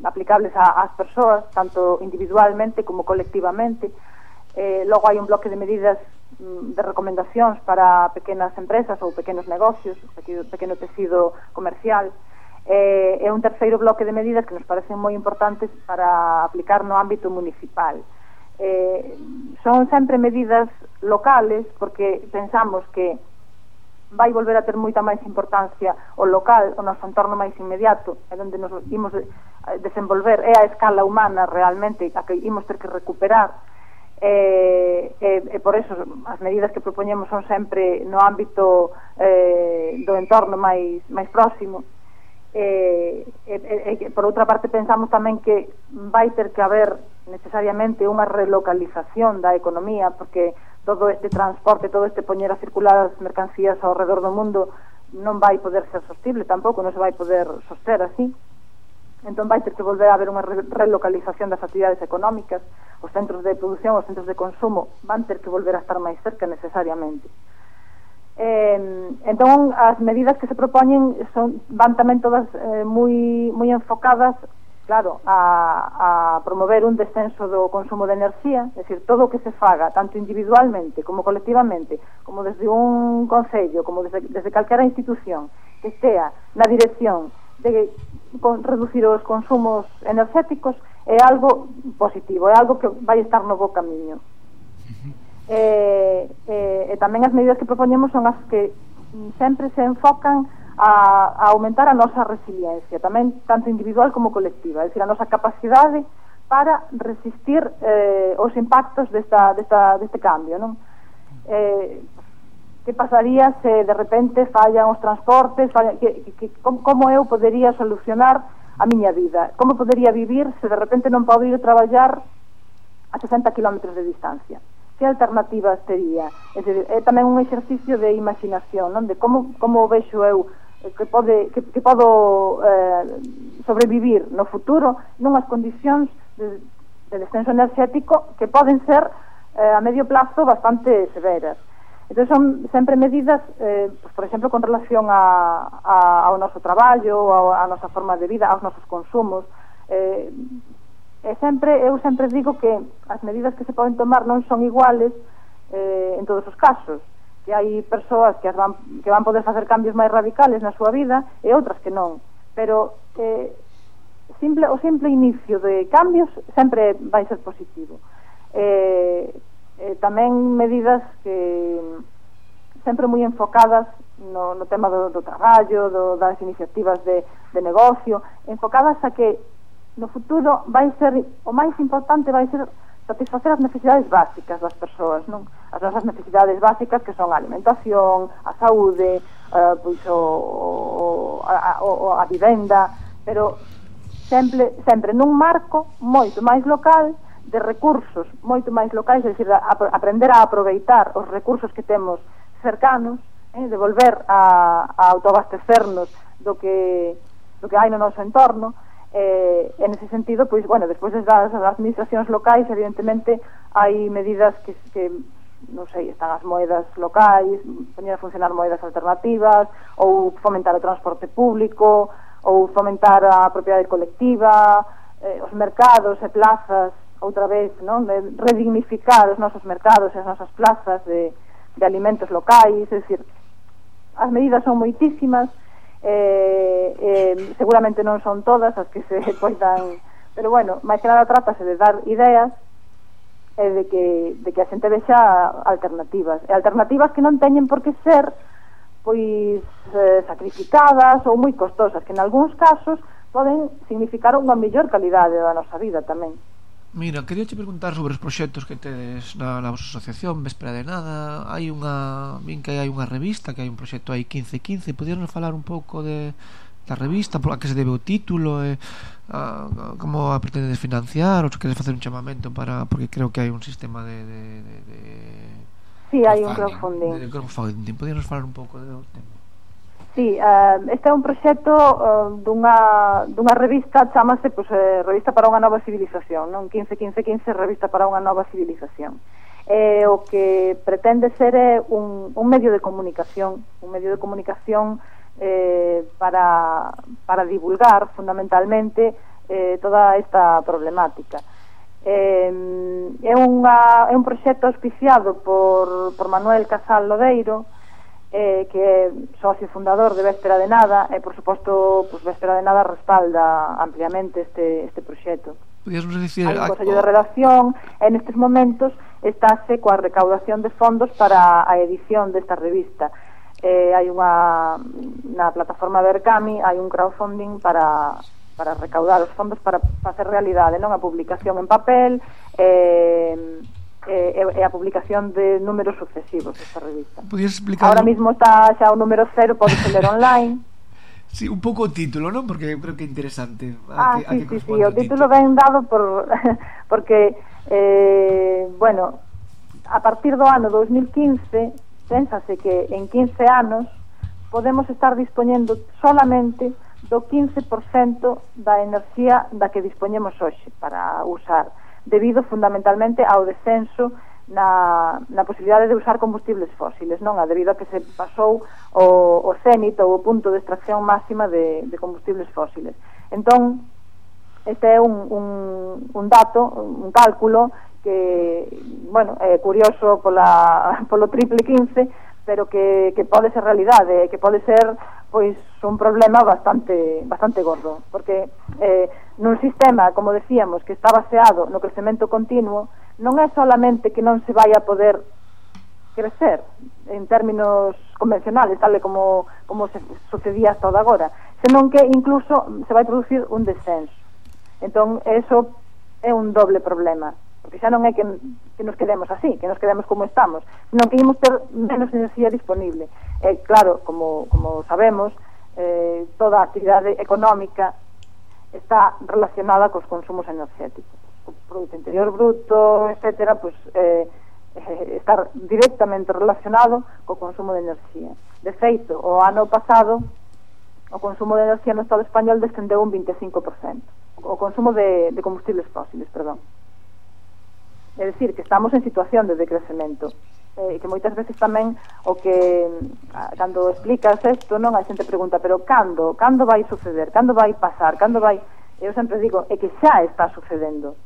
aplicables ás persoas, tanto individualmente como colectivamente. Logo hai un bloque de medidas de recomendacións para pequenas empresas ou pequenos negocios, pequeno tecido comercial. E un terceiro bloque de medidas que nos parecen moi importantes para aplicar no ámbito municipal. Son sempre medidas locales, porque pensamos que vai volver a ter moita máis importancia o local, o noso entorno máis inmediato, é onde nos imos desenvolver, é a escala humana realmente a que imos ter que recuperar, e por eso as medidas que propoñemos son sempre no ámbito do entorno máis próximo. Por outra parte, pensamos tamén que vai ter que haber necesariamente unha relocalización da economía, porque todo este transporte, todo este poñer a circular as mercancías ao redor do mundo non vai poder ser sostible tampouco, non se vai poder soster así. Entón vai ter que volver a haber unha relocalización das actividades económicas, os centros de produción, os centros de consumo van ter que volver a estar máis cerca necesariamente. Entón as medidas que se propoñen van tamén todas moi enfocadas, claro, a promover un descenso do consumo de enerxía, é dicir, todo o que se faga, tanto individualmente como colectivamente, como desde un concello, como desde calquera institución, que estea na dirección de reducir os consumos enerxéticos, é algo positivo, é algo que vai estar no bo camiño. E tamén as medidas que propoñemos son as que sempre se enfocan a aumentar a nosa resiliencia, tamén tanto individual como colectiva, é dicir, a nosa capacidade para resistir os impactos deste cambio, non? Que pasaría se de repente fallan os transportes, como eu podería solucionar a miña vida, como podería vivir se de repente non podo ir traballar a 60 km de distancia, que alternativas tería? É dicir, é tamén un exercicio de imaginación, non? De como vexo eu que podo sobrevivir no futuro nunhas condicións de descenso enerxético que poden ser a medio plazo bastante severas. Entón son sempre medidas, por exemplo, con relación ao noso traballo, a nosa forma de vida, aos nosos consumos. Eu sempre digo que as medidas que se poden tomar non son iguales en todos os casos, que hai persoas que van poder facer cambios máis radicales na súa vida e outras que non, pero o simple inicio de cambios sempre vai ser positivo. Tamén medidas que sempre moi enfocadas no tema do traballo, das iniciativas de negocio, enfocadas a que no futuro vai ser, o máis importante vai ser satisfacer as necesidades básicas das persoas, non? As nosas necesidades básicas, que son a alimentación, a saúde, pois a vivenda, pero sempre nun marco moito máis local, de recursos moito máis locais, é dicir, aprender a aproveitar os recursos que temos cercanos, de volver a autoabastecernos do que hai no noso entorno. En ese sentido, pois, bueno, despois das administracións locais, evidentemente hai medidas que non sei, están as moedas locais, poñer a funcionar moedas alternativas, ou fomentar o transporte público, ou fomentar a propiedade colectiva, os mercados e plazas, outra vez, non? Redignificar os nosos mercados e as nosas plazas de alimentos locais, é dicir, as medidas son moitísimas, seguramente non son todas as que se poidan, pero bueno, máis que nada trátase de dar ideas e de que a xente vexa alternativas, e alternativas que non teñen por que ser pois sacrificadas ou moi costosas, que en algúns casos poden significar unha mellor calidade da nosa vida tamén. Mira, quería che preguntar sobre os proxectos que tedes na vosa asociación Véspera de Nada. Hai hai unha revista, que hai un proxecto aí 1515. Podíanos falar un pouco da revista, a que se debe o título, como a pretendes financiar, ou se queres facer un chamamento porque creo que hai un sistema Sí, hai un crowdfunding. Podíanos falar un pouco do tema? Sí, este é un proxecto dunha revista, chamase Revista para unha nova civilización, non? 15-15-15, Revista para unha nova civilización. O que pretende ser é un medio de comunicación, para divulgar fundamentalmente toda esta problemática. É un proxecto auspiciado por Manuel Casal Lodeiro, que é socio fundador de Véspera de Nada, e por suposto pues, Véspera de Nada respalda ampliamente este proxecto. Podíasnos dicir hai un consello de redacción e nestes momentos estáse coa recaudación de fondos para a edición desta revista. Hai na plataforma Berkami hai un crowdfunding para recaudar os fondos para facer realidade, non, a publicación en papel e a publicación de números sucesivos desta revista. Podías explicar? Ahora mismo está xa o número 0, podes ler online. Sí, un pouco o título, non? Porque eu creo que é interesante. Sí, o título ben dado porque bueno, a partir do ano 2015 pénsase que en 15 anos podemos estar dispoñendo solamente do 15% da enerxía da que dispoñemos hoxe para usar, debido fundamentalmente ao descenso na posibilidade de usar combustibles fósiles, non? Debido a que se pasou o cénit ou o punto de extracción máxima de combustibles fósiles. Entón, este é un dato, un cálculo que, bueno, é curioso polo triple 15, pero que pode ser realidade, que pode ser pois un problema bastante gordo, porque nun sistema, como decíamos, que está baseado no crecemento continuo, non é solamente que non se vai a poder crecer en términos convencionales, tal como se sucedía hasta agora, senón que incluso se vai producir un descenso. Entón, eso é un doble problema, porque xa non é que nos quedemos así, que nos quedemos como estamos, senón que ímos ter menos enerxía disponible. Claro, como sabemos, toda a actividade económica está relacionada cos consumos enerxéticos. O Produto Interior Bruto, etcétera, pues, está directamente relacionado co consumo de enerxía. De feito, o ano pasado, o consumo de enerxía no Estado español descendeu un 25%. O consumo de combustibles fósiles, perdón. É dicir, que estamos en situación de decrecemento. Que moitas veces tamén o que cando explicas isto, non, a xente pregunta, pero cando vai suceder, cando vai pasar, cando vai... Eu sempre digo, é que xa está sucedendo,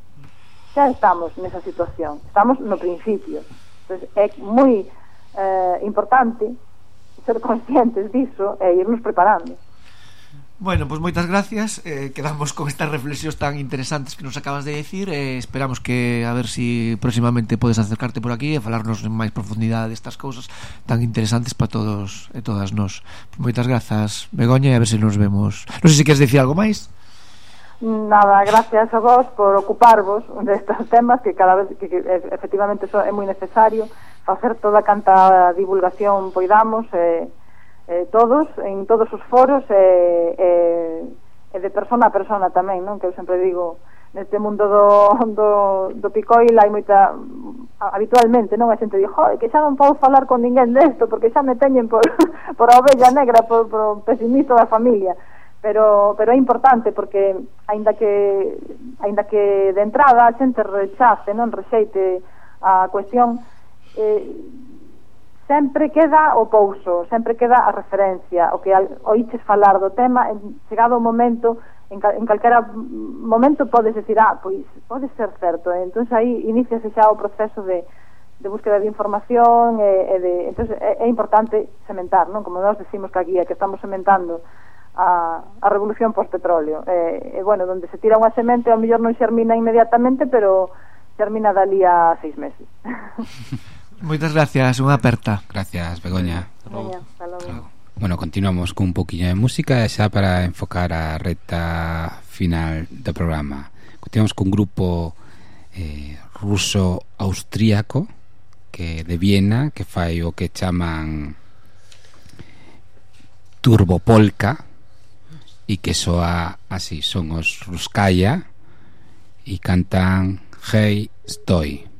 xa estamos nesa situación, estamos no principio. Entón, é moi importante ser conscientes diso e irnos preparando. Bueno, pois moitas gracias, quedamos con estas reflexións tan interesantes que nos acabas de decir, esperamos que a ver si próximamente podes acercarte por aquí e falarnos en máis profundidade destas cousas tan interesantes para todos e todas nós. Moitas grazas, Begoña, e a ver se nos vemos. Non sei se queres dicir algo máis. Nada, gracias a vos por ocuparvos destes temas que cada vez que efectivamente é moi necesario facer toda canta divulgación poidamos todos, en todos os foros e de persona a persona tamén, non? Que eu sempre digo, neste mundo do picoil hai moita, habitualmente, non? A xente di, que xa non podo falar con ninguén desto porque xa me teñen por a ovella negra, por o pesimista da familia, pero é importante porque aínda que de entrada a xente rechace, non? Rexeite a cuestión, sempre queda o pouso, sempre queda a referencia, o que oíches falar do tema, chegado o momento, en calquera momento podes decir, pois pode ser certo, entón aí iniciase xa o proceso de búsqueda de información entón é importante sementar, non? Como nós decimos que aquí que estamos sementando a revolución post-petróleo, bueno, donde se tira unha semente ao mellor non xermina inmediatamente, pero xermina dali a 6 meses. Moitas gracias, unha aperta. Gracias, Begoña. Hasta logo. Bueno, continuamos con un poquinho de música xa para enfocar a recta final do programa. Continuamos con un grupo ruso-austríaco que de Viena, que fai o que chaman turbopolka e que soa así, son os Ruskaya e cantan Hey Stoy.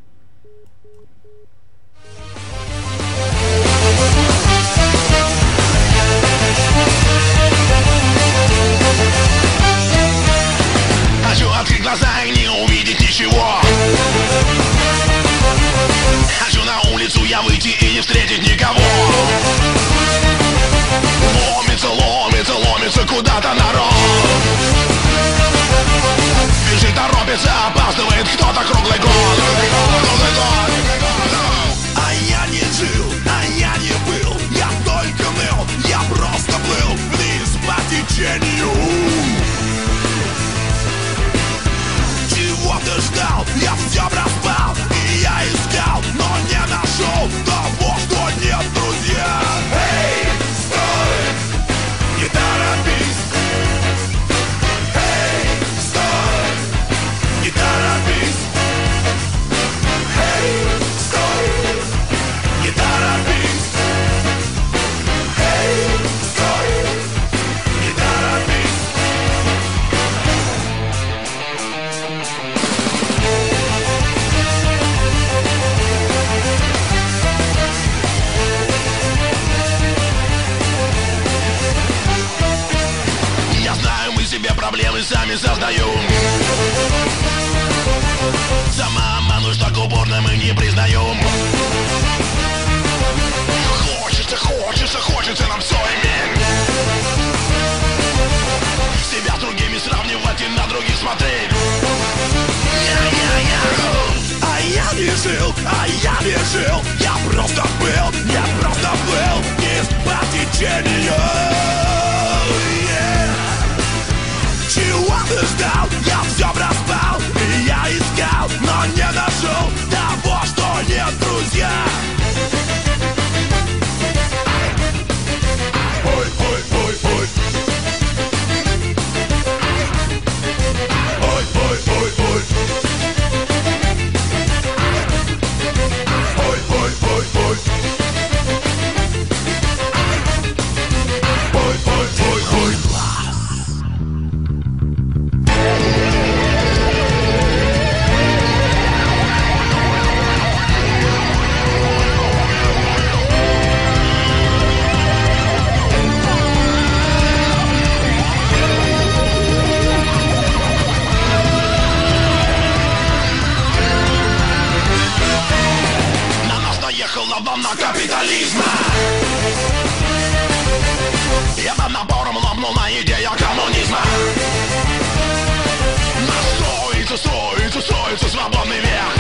Хочу открыть глаза и не увидеть ничего. Хочу на улицу я выйти и не встретить никого. Ломится куда-то народ. Бежит, торопится, опаздывает кто-то круглый год. жил, а я не жил. Я просто был из по течению. Чего ты ждал? Я все проспал, и я искал, но не нашел того, что нет, друзья. Ой, ой, ой, ой. Ой, ой, ой, ой. Ой, ой, ой, ой. Ой, ой, ой, ой. Волна капитализма. Я напором ломнула идея коммунизма. Настроится свободный век.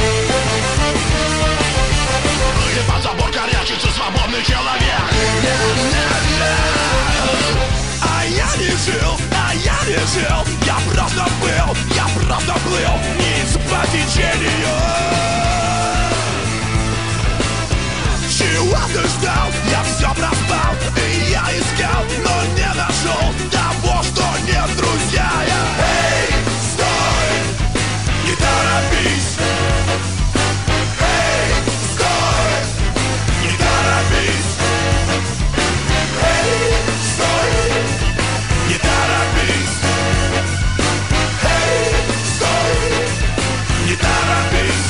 И под забор корячится свободный человек. А я не жил, я просто плыл низ по течению. Чего ты ждал? Я все проспал, и я искал, но не нашел того, что нет, друзья. Эй, стой, не торопись. Эй, стой, не торопись. Эй, стой, не торопись. Эй, стой, не торопись.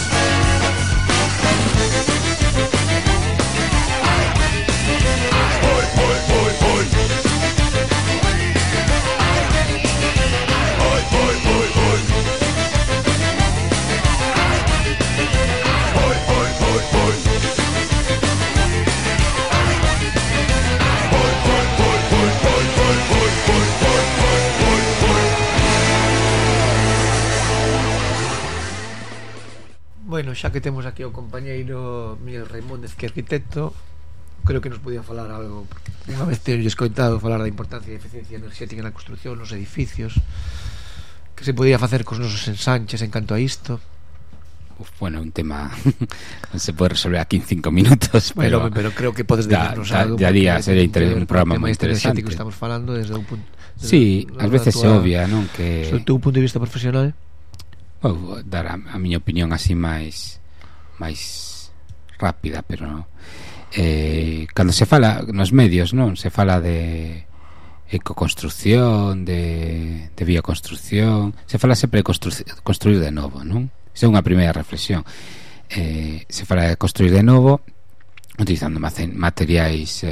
Bueno, xa que temos aquí o compañeiro Miguel Raimóndez, que é arquitecto, creo que nos podía falar algo. Unha vez teño escoitado falar da importancia da eficiencia enerxética na construción, nos edificios, que se podía facer cos nosos ensanches en canto a isto. Bueno, un tema non se pode resolver aquí en 5 minutos, pero creo que podes decirnos algo. Ya día sería un programa moi interesante. Que estamos falando desde un punto. Sí, ás veces se obvia, non? Que sobre o teu punto de vista profesional. Vou dar a miña opinión así máis rápida, pero cando se fala nos medios, non? Se fala de ecoconstrucción, de bioconstrucción, se fala sempre de construir de novo, non? Esa é unha primeira reflexión. Se fala de construir de novo utilizando materiais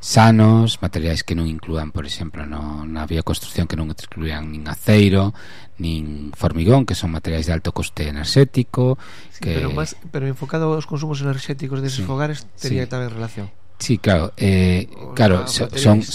sanos, materiais que non inclúan, por exemplo, na bioconstrucción, que non incluían nin aceiro nin formigón, que son materiais de alto coste enerxético, sí, que... pero enfocado aos consumos enerxéticos deses fogares tería tamén relación. Sí, claro, son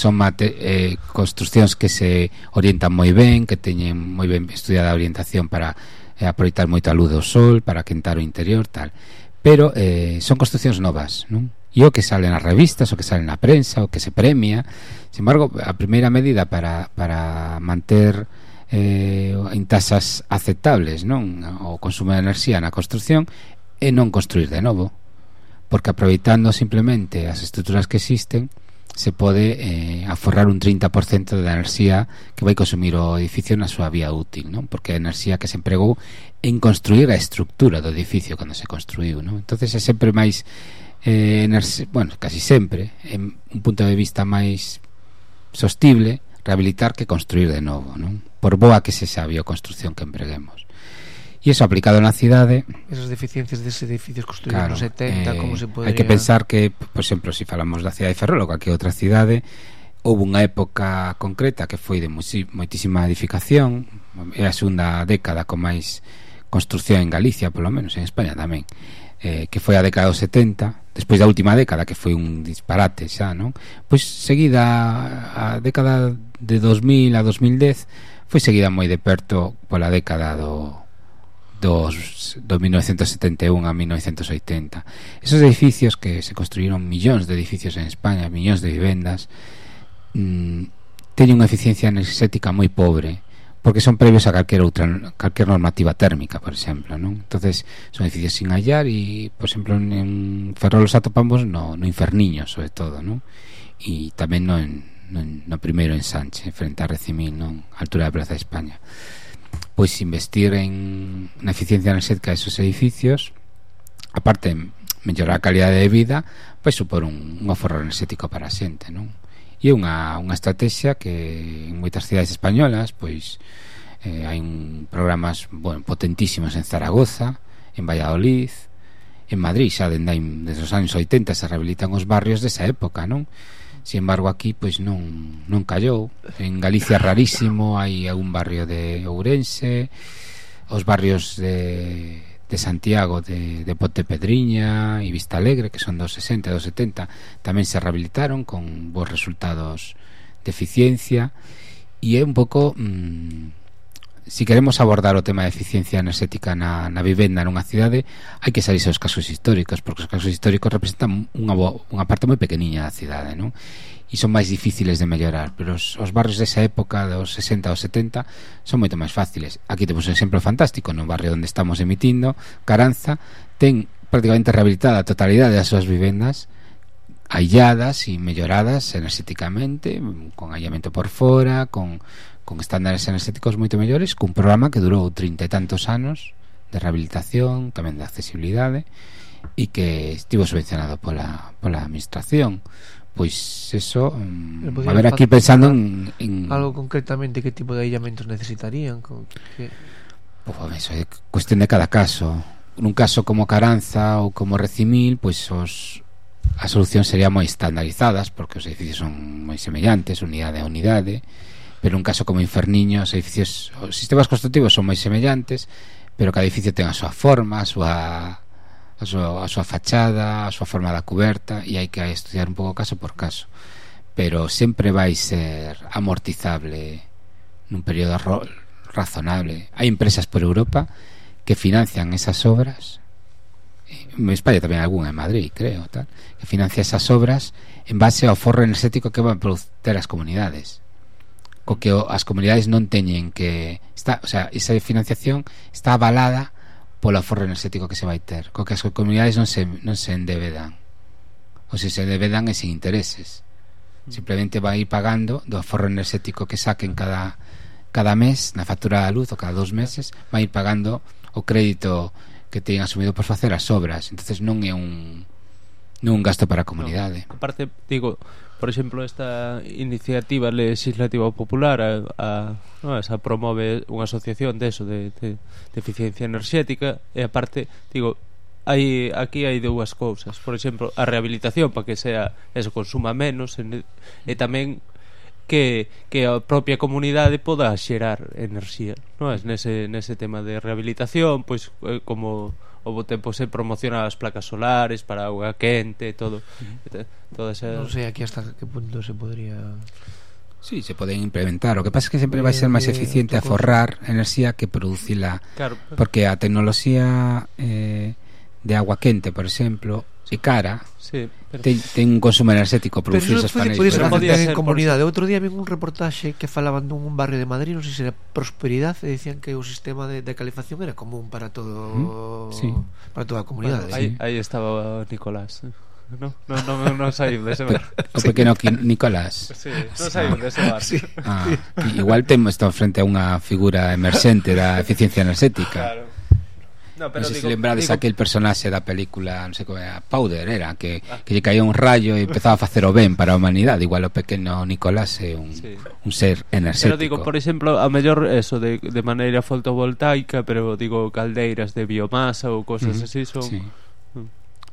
construccións que se orientan moi ben, que teñen moi ben estudiada a orientación para aproveitar moito a luz do sol, para quentar o interior, tal. Pero son construccións novas, non? E o que sale nas revistas, o que sale na prensa, o que se premia. Sin embargo, a primeira medida para manter en tasas aceptables, non, o consumo de enerxía na construcción é non construir de novo, porque aproveitando simplemente as estruturas que existen se pode aforrar un 30% da enerxía que vai consumir o edificio na súa vía útil, non? Porque a enerxía que se empregou en construir a estructura do edificio cando se construiu, non? Entonces é sempre máis casi sempre en un punto de vista máis sostible rehabilitar que construir de novo, non? Por boa que se xa a bioconstrucción que empreguemos. E iso aplicado na cidade, esas deficiencias deses edificios construídos nos 70, como se podría... Hai que pensar que, por exemplo, se falamos da cidade de Ferrol ou calquera outra cidade, houve unha época concreta que foi de moitísima edificación, é a segunda década con máis construcción en Galicia, polo menos en España tamén, que foi a década dos 70, despois da última década que foi un disparate xa, non? Pois seguida a década de 2000 a 2010 foi seguida moi de perto pola década do do 1971 a 1980. Esos edificios que se construíron, millóns de edificios en España, millóns de vivendas, teñen unha eficiencia enerxética moi pobre, porque son previos a calquer normativa térmica, por exemplo, non? Entonces son edificios sin hallar e, por exemplo, en Ferrol os atopamos no Inferniño, sobre todo, non? E tamén no primeiro ensanche, frente a Recimil, non? A altura da Praza de España. Pois investir na eficiencia enerxética de esos edificios, aparte de mellorar a calidade de vida, pois supor un aforro enerxético para a xente, non? E unha estrategia que en moitas cidades españolas pois hai programas potentísimos en Zaragoza, en Valladolid, en Madrid, xa desde os anos 80 se rehabilitan os barrios desa época, non? Sin embargo aquí pois non callou. En Galicia rarísimo, hai algún barrio de Ourense, os barrios de Santiago, de Pontepedriña e Vista Alegre, que son dos 60 e dos 70, tamén se rehabilitaron con bons resultados de eficiencia. E é un pouco si queremos abordar o tema de eficiencia enerxética na vivenda nunha cidade, hai que saírse aos casos históricos, porque os casos históricos representan unha parte moi pequeniña da cidade, non? E son máis difíciles de mellorar, pero os barrios desa época dos 60 aos 70 son moito máis fáciles. Aquí temos un exemplo fantástico no barrio onde estamos emitindo, Caranza, ten prácticamente rehabilitada a totalidade das súas vivendas, ailladas e melloradas enerxéticamente, con aillamento por fora, con estándares enerxéticos moito mellores, cun programa que durou 30 e tantos anos de rehabilitación, tamén de accesibilidade, e que estivo subvencionado pola administración. Pois eso, a ver, aquí pensando en algo concretamente, que tipo de aillamentos necesitarían? Eso é cuestión de cada caso. Nun caso como Caranza ou como Recimil, pois as solucións serían moi estandarizadas, porque os edificios son moi semellantes, unidade a unidade. Pero un caso como Inferniño, os sistemas constructivos son moi semellantes, pero cada edificio ten a súa forma, a súa fachada, a súa forma da cuberta, e hai que estudiar un pouco caso por caso. Pero sempre vai ser amortizable nun período razonable. Hai empresas por Europa que financian esas obras, en España tamén algunha, en Madrid, creo, tal, que financia esas obras en base ao aforro enerxético que van a producir as comunidades, co que as comunidades non teñen que esa financiación está avalada polo aforro enerxético que se vai ter, co que as comunidades non se endebedan, ou se endebedan é sin intereses, simplemente vai ir pagando do aforro enerxético que saquen cada mes na factura da luz, ou cada 2 meses vai ir pagando o crédito que teñen asumido por facer as obras. Entonces non é un gasto para a comunidade. Aparte, digo, por exemplo, esta iniciativa legislativa popular esa promove unha asociación de eficiencia enerxética, e aparte, digo, aquí hai dúas cousas. Por exemplo, a rehabilitación para que eso consuma menos, e tamén que a propia comunidade poda xerar enerxía, non é? Nese tema de rehabilitación, pois como o tempo se promocionan as placas solares para auga quente, todo esa... Non sei aquí hasta que punto se podría... Sí, se poden implementar. O que pasa é que sempre vai ser máis eficiente aforrar enerxía que producila, claro, porque a tecnoloxía de agua quente, por exemplo, é cara, sí, pero... ten un consumo enerxético producir esos paneles. Pero podía ser en comunidade. Outro día vi un reportaxe que falaban dun barrio de Madrid, non sei se era Prosperidad, e decían que o sistema de calefacción era común para todo, sí, para toda a comunidade. Bueno, aí estaba Nicolás. Non saiu dese bar. O pequeno Nicolás. Sí, non saiu dese bar. Sí. Igual temos frente a unha figura emerxente da eficiencia enerxética. Claro. Non sei se lembrades aquel personaxe da película, non sei como era, Powder, era que lle caía un rayo e empezaba a facer o ben para a humanidade. Igual o pequeno Nicolás é un ser enerxético. Pero digo, por exemplo, a mellor eso de maneira fotovoltaica, pero digo, caldeiras de biomasa ou cosas así son...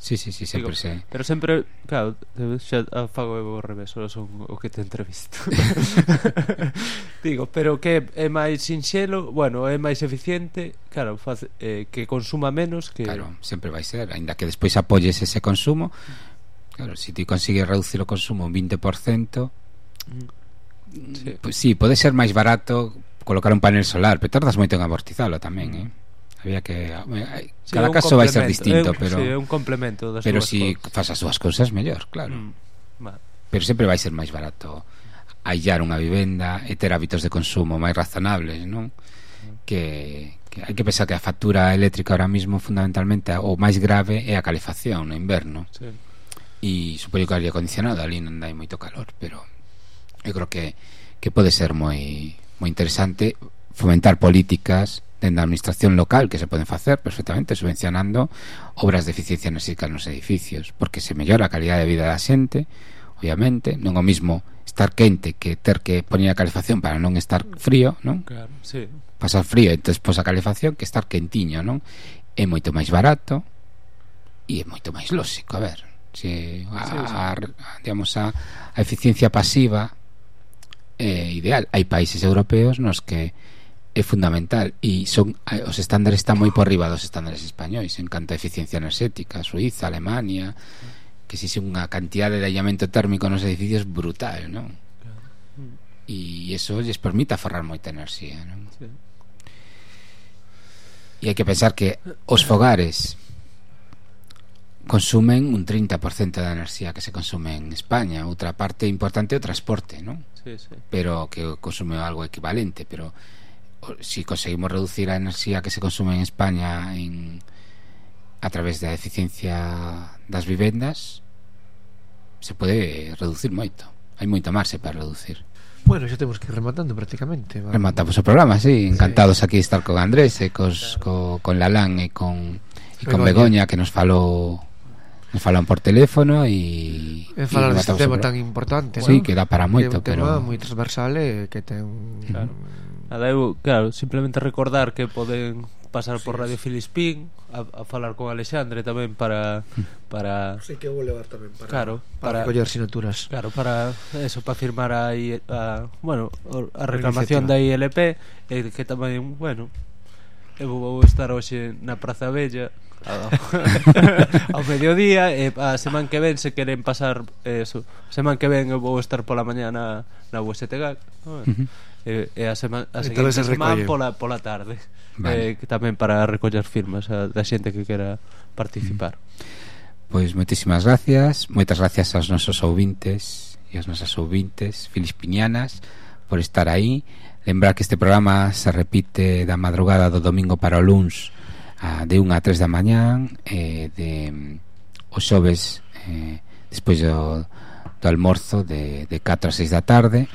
Sí, sempre sei. Pero sempre, claro, xa fago o revés, son o que te entrevisto. Digo, pero que é máis sinxelo, bueno, é máis eficiente, claro, que consuma menos que... Claro, sempre vai ser, aínda que despois apoyes ese consumo. Claro, se ti consigues reducir o consumo un 20%, pues sí, pode ser máis barato colocar un panel solar, pero tardas moito en amortizalo tamén, Había que Sí, cada un caso vai ser complemento, distinto, pero sí, é un complemento das pero súas si cousas. fas as súas cousas mellor, claro. Vale. Pero sempre vai ser máis barato aillar unha vivenda e ter hábitos de consumo máis razonables, non? Que hai que pensar que a factura eléctrica ahora mismo fundamentalmente o máis grave é a calefacción no inverno. Sí. E supoño que o aire acondicionado ali non dai moito calor, pero eu creo que pode ser moi interesante fomentar políticas dentro da administración local que se poden facer perfectamente subvencionando obras de eficiencia enerxética nos edificios, porque se mellora a calidade de vida da xente, obviamente, non o mismo estar quente que ter que poñer a calefacción para non estar frío, non? Claro, sí. Pasar frío e despois a calefacción que estar quentiño, non? É moito máis barato e é moito máis lóxico, a ver, se digamos a eficiencia pasiva é ideal. Hai países europeos nos que é fundamental e os estándares están moi por riba dos estándares españois en canto a eficiencia enerxética. Suiza, Alemania, que existe unha cantidade de aillamento térmico nos edificios brutal, non? E iso lles permite aforrar moita enerxía, non? Sí. E hai que pensar que os fogares consumen un 30% da enerxía que se consume en España. Outra parte importante é o transporte, non? Sí, sí. Pero que consume algo equivalente, pero si conseguimos reducir a enerxía que se consume en España a través da eficiencia das vivendas, se pode reducir moito. Hai moito marxe para reducir. Bueno, xa temos que ir rematando prácticamente. Rematamos o programa, sí. Encantados aquí de estar con Andrés e con Lalán e con Begoña, que nos falaron por teléfono e falar deste tema tan importante, sí, ¿no? que dá para moito, pero pero un tema moi transversal e que ten claro, simplemente recordar que poden pasar por Radio Filispín a falar con Alexandre tamén para sí, que vou levar tamén para recoller sinaturas. Claro, para eso, para firmar a reclamación da ILP e que tamén, bueno, eu vou estar hoxe na Praza Bella ao mediodía e a semana que ven se queren pasar eso, semana que ven eu vou estar pola mañá na USTG, e a seguinte semana pola tarde, vale. Que tamén para recoller firmas da xente que quera participar. Pois moitísimas gracias, moitas gracias aos nosos ouvintes e as nosas ouvintes filispinianas por estar aí. Lembrar que este programa se repite da madrugada do domingo para o luns de 1 a 3 da mañán, os xoves despois do almorzo de 4 a 6 da tarde,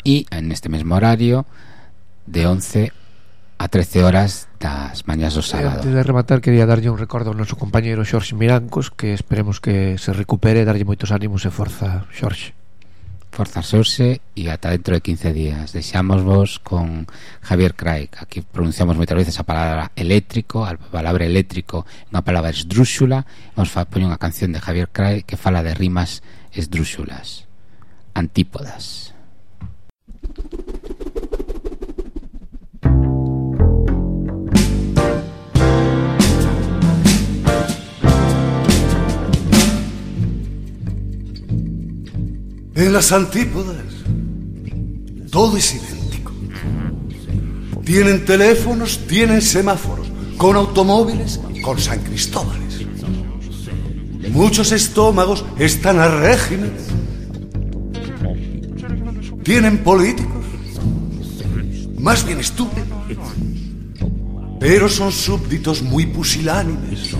e neste mesmo horario de 11 a 13 horas das mañás do sábado. Antes de rematar, quería darlle un recordo ao noso compañeiro Xorxe Mirancos, que esperemos que se recupere, darlle moitos ánimos e forza, Xorxe. Forza, Xorxe, e ata dentro de 15 días. Deixamos vos con Javier Craig. Aquí pronunciamos moitas veces a palabra eléctrico. A palabra eléctrico é unha palabra esdrúxula. Vamos a poñer unha canción de Javier Craig que fala de rimas esdrúxulas. Antípodas. En las antípodas todo es idéntico. Tienen teléfonos, tienen semáforos, con automóviles, con San Cristóbales. Muchos estómagos están a régimen. Tienen políticos, más bien estúpidos, pero son súbditos muy pusilánimes.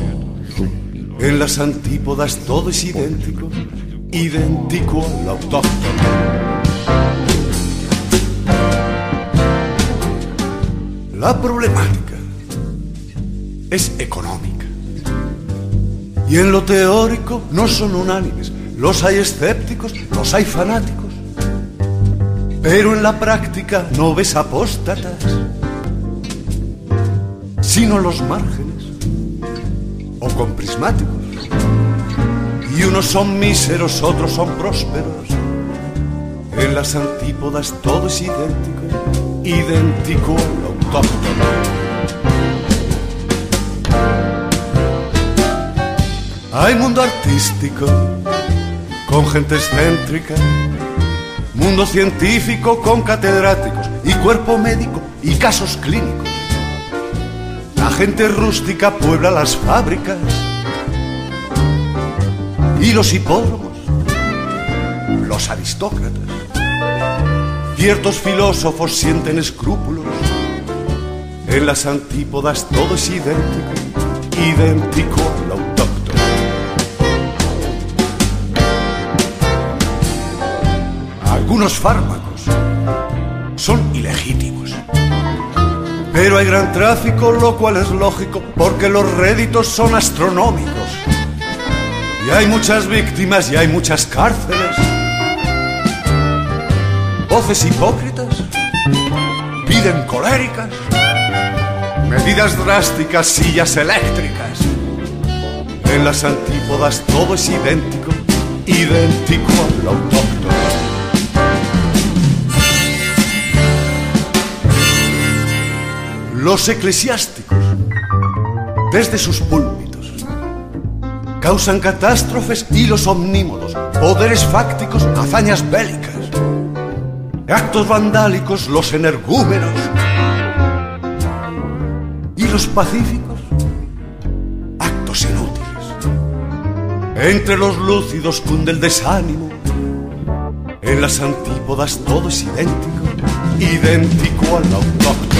En las antípodas todo es idéntico, idéntico al autóctono. La problemática es económica. Y en lo teórico no son unánimes. Los hay escépticos, los hay fanáticos. Pero en la práctica no ves apóstatas, sino los márgenes o con prismáticos. Y unos son míseros, otros son prósperos. En las antípodas todo es idéntico, idéntico al autóctono. Hay mundo artístico, con gente excéntrica, mundo científico con catedráticos y cuerpo médico y casos clínicos. La gente rústica puebla las fábricas y los hipódromos, los aristócratas. Ciertos filósofos sienten escrúpulos. En las antípodas todo es idéntico, idéntico al autóctono. Algunos fármacos son ilegítimos, pero hay gran tráfico, lo cual es lógico, porque los réditos son astronómicos. Y hay muchas víctimas y hay muchas cárceles. Voces hipócritas piden coléricas, medidas drásticas, sillas eléctricas. En las antípodas todo es idéntico, idéntico al autóctono. Los eclesiásticos, desde sus púlpitos, causan catástrofes, y los omnímodos, poderes fácticos, hazañas bélicas, actos vandálicos, los energúmenos. Y los pacíficos, actos inútiles. Entre los lúcidos cunde el desánimo. En las antípodas todo es idéntico, idéntico al autóctono.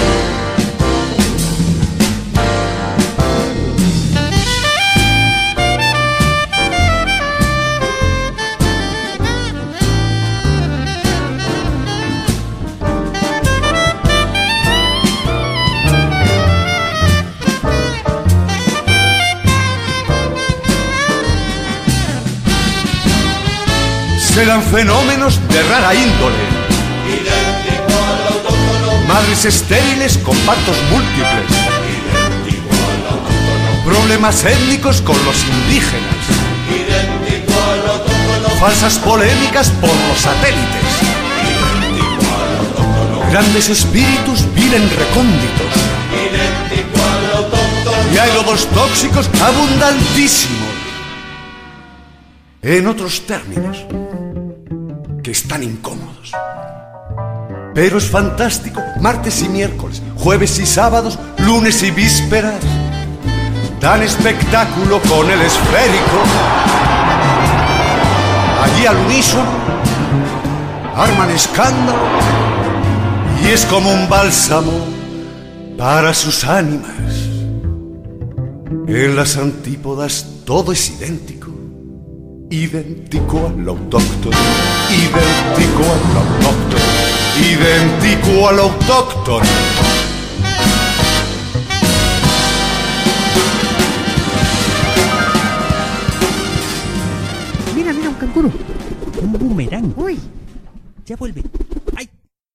Serán fenómenos de rara índole, idéntico al autóctono. Madres estériles con partos múltiples, idéntico al autóctono. Problemas étnicos con los indígenas, idéntico al autóctono. Falsas polémicas por los satélites, idéntico al autóctono. Grandes espíritus viven recónditos, idéntico al autóctono. Y hay lodos tóxicos abundantísimos. En otros términos, que están incómodos. Pero es fantástico, martes y miércoles, jueves y sábados, lunes y vísperas. Dan espectáculo con el esférico. Allí al unísono arman escándalo, y es como un bálsamo para sus ánimas. En las antípodas todo es idéntico, idéntico al autóctono, idéntico al autóctono, idéntico al autóctono. Mira, un canguro. Un boomerang. Uy, ya vuelve.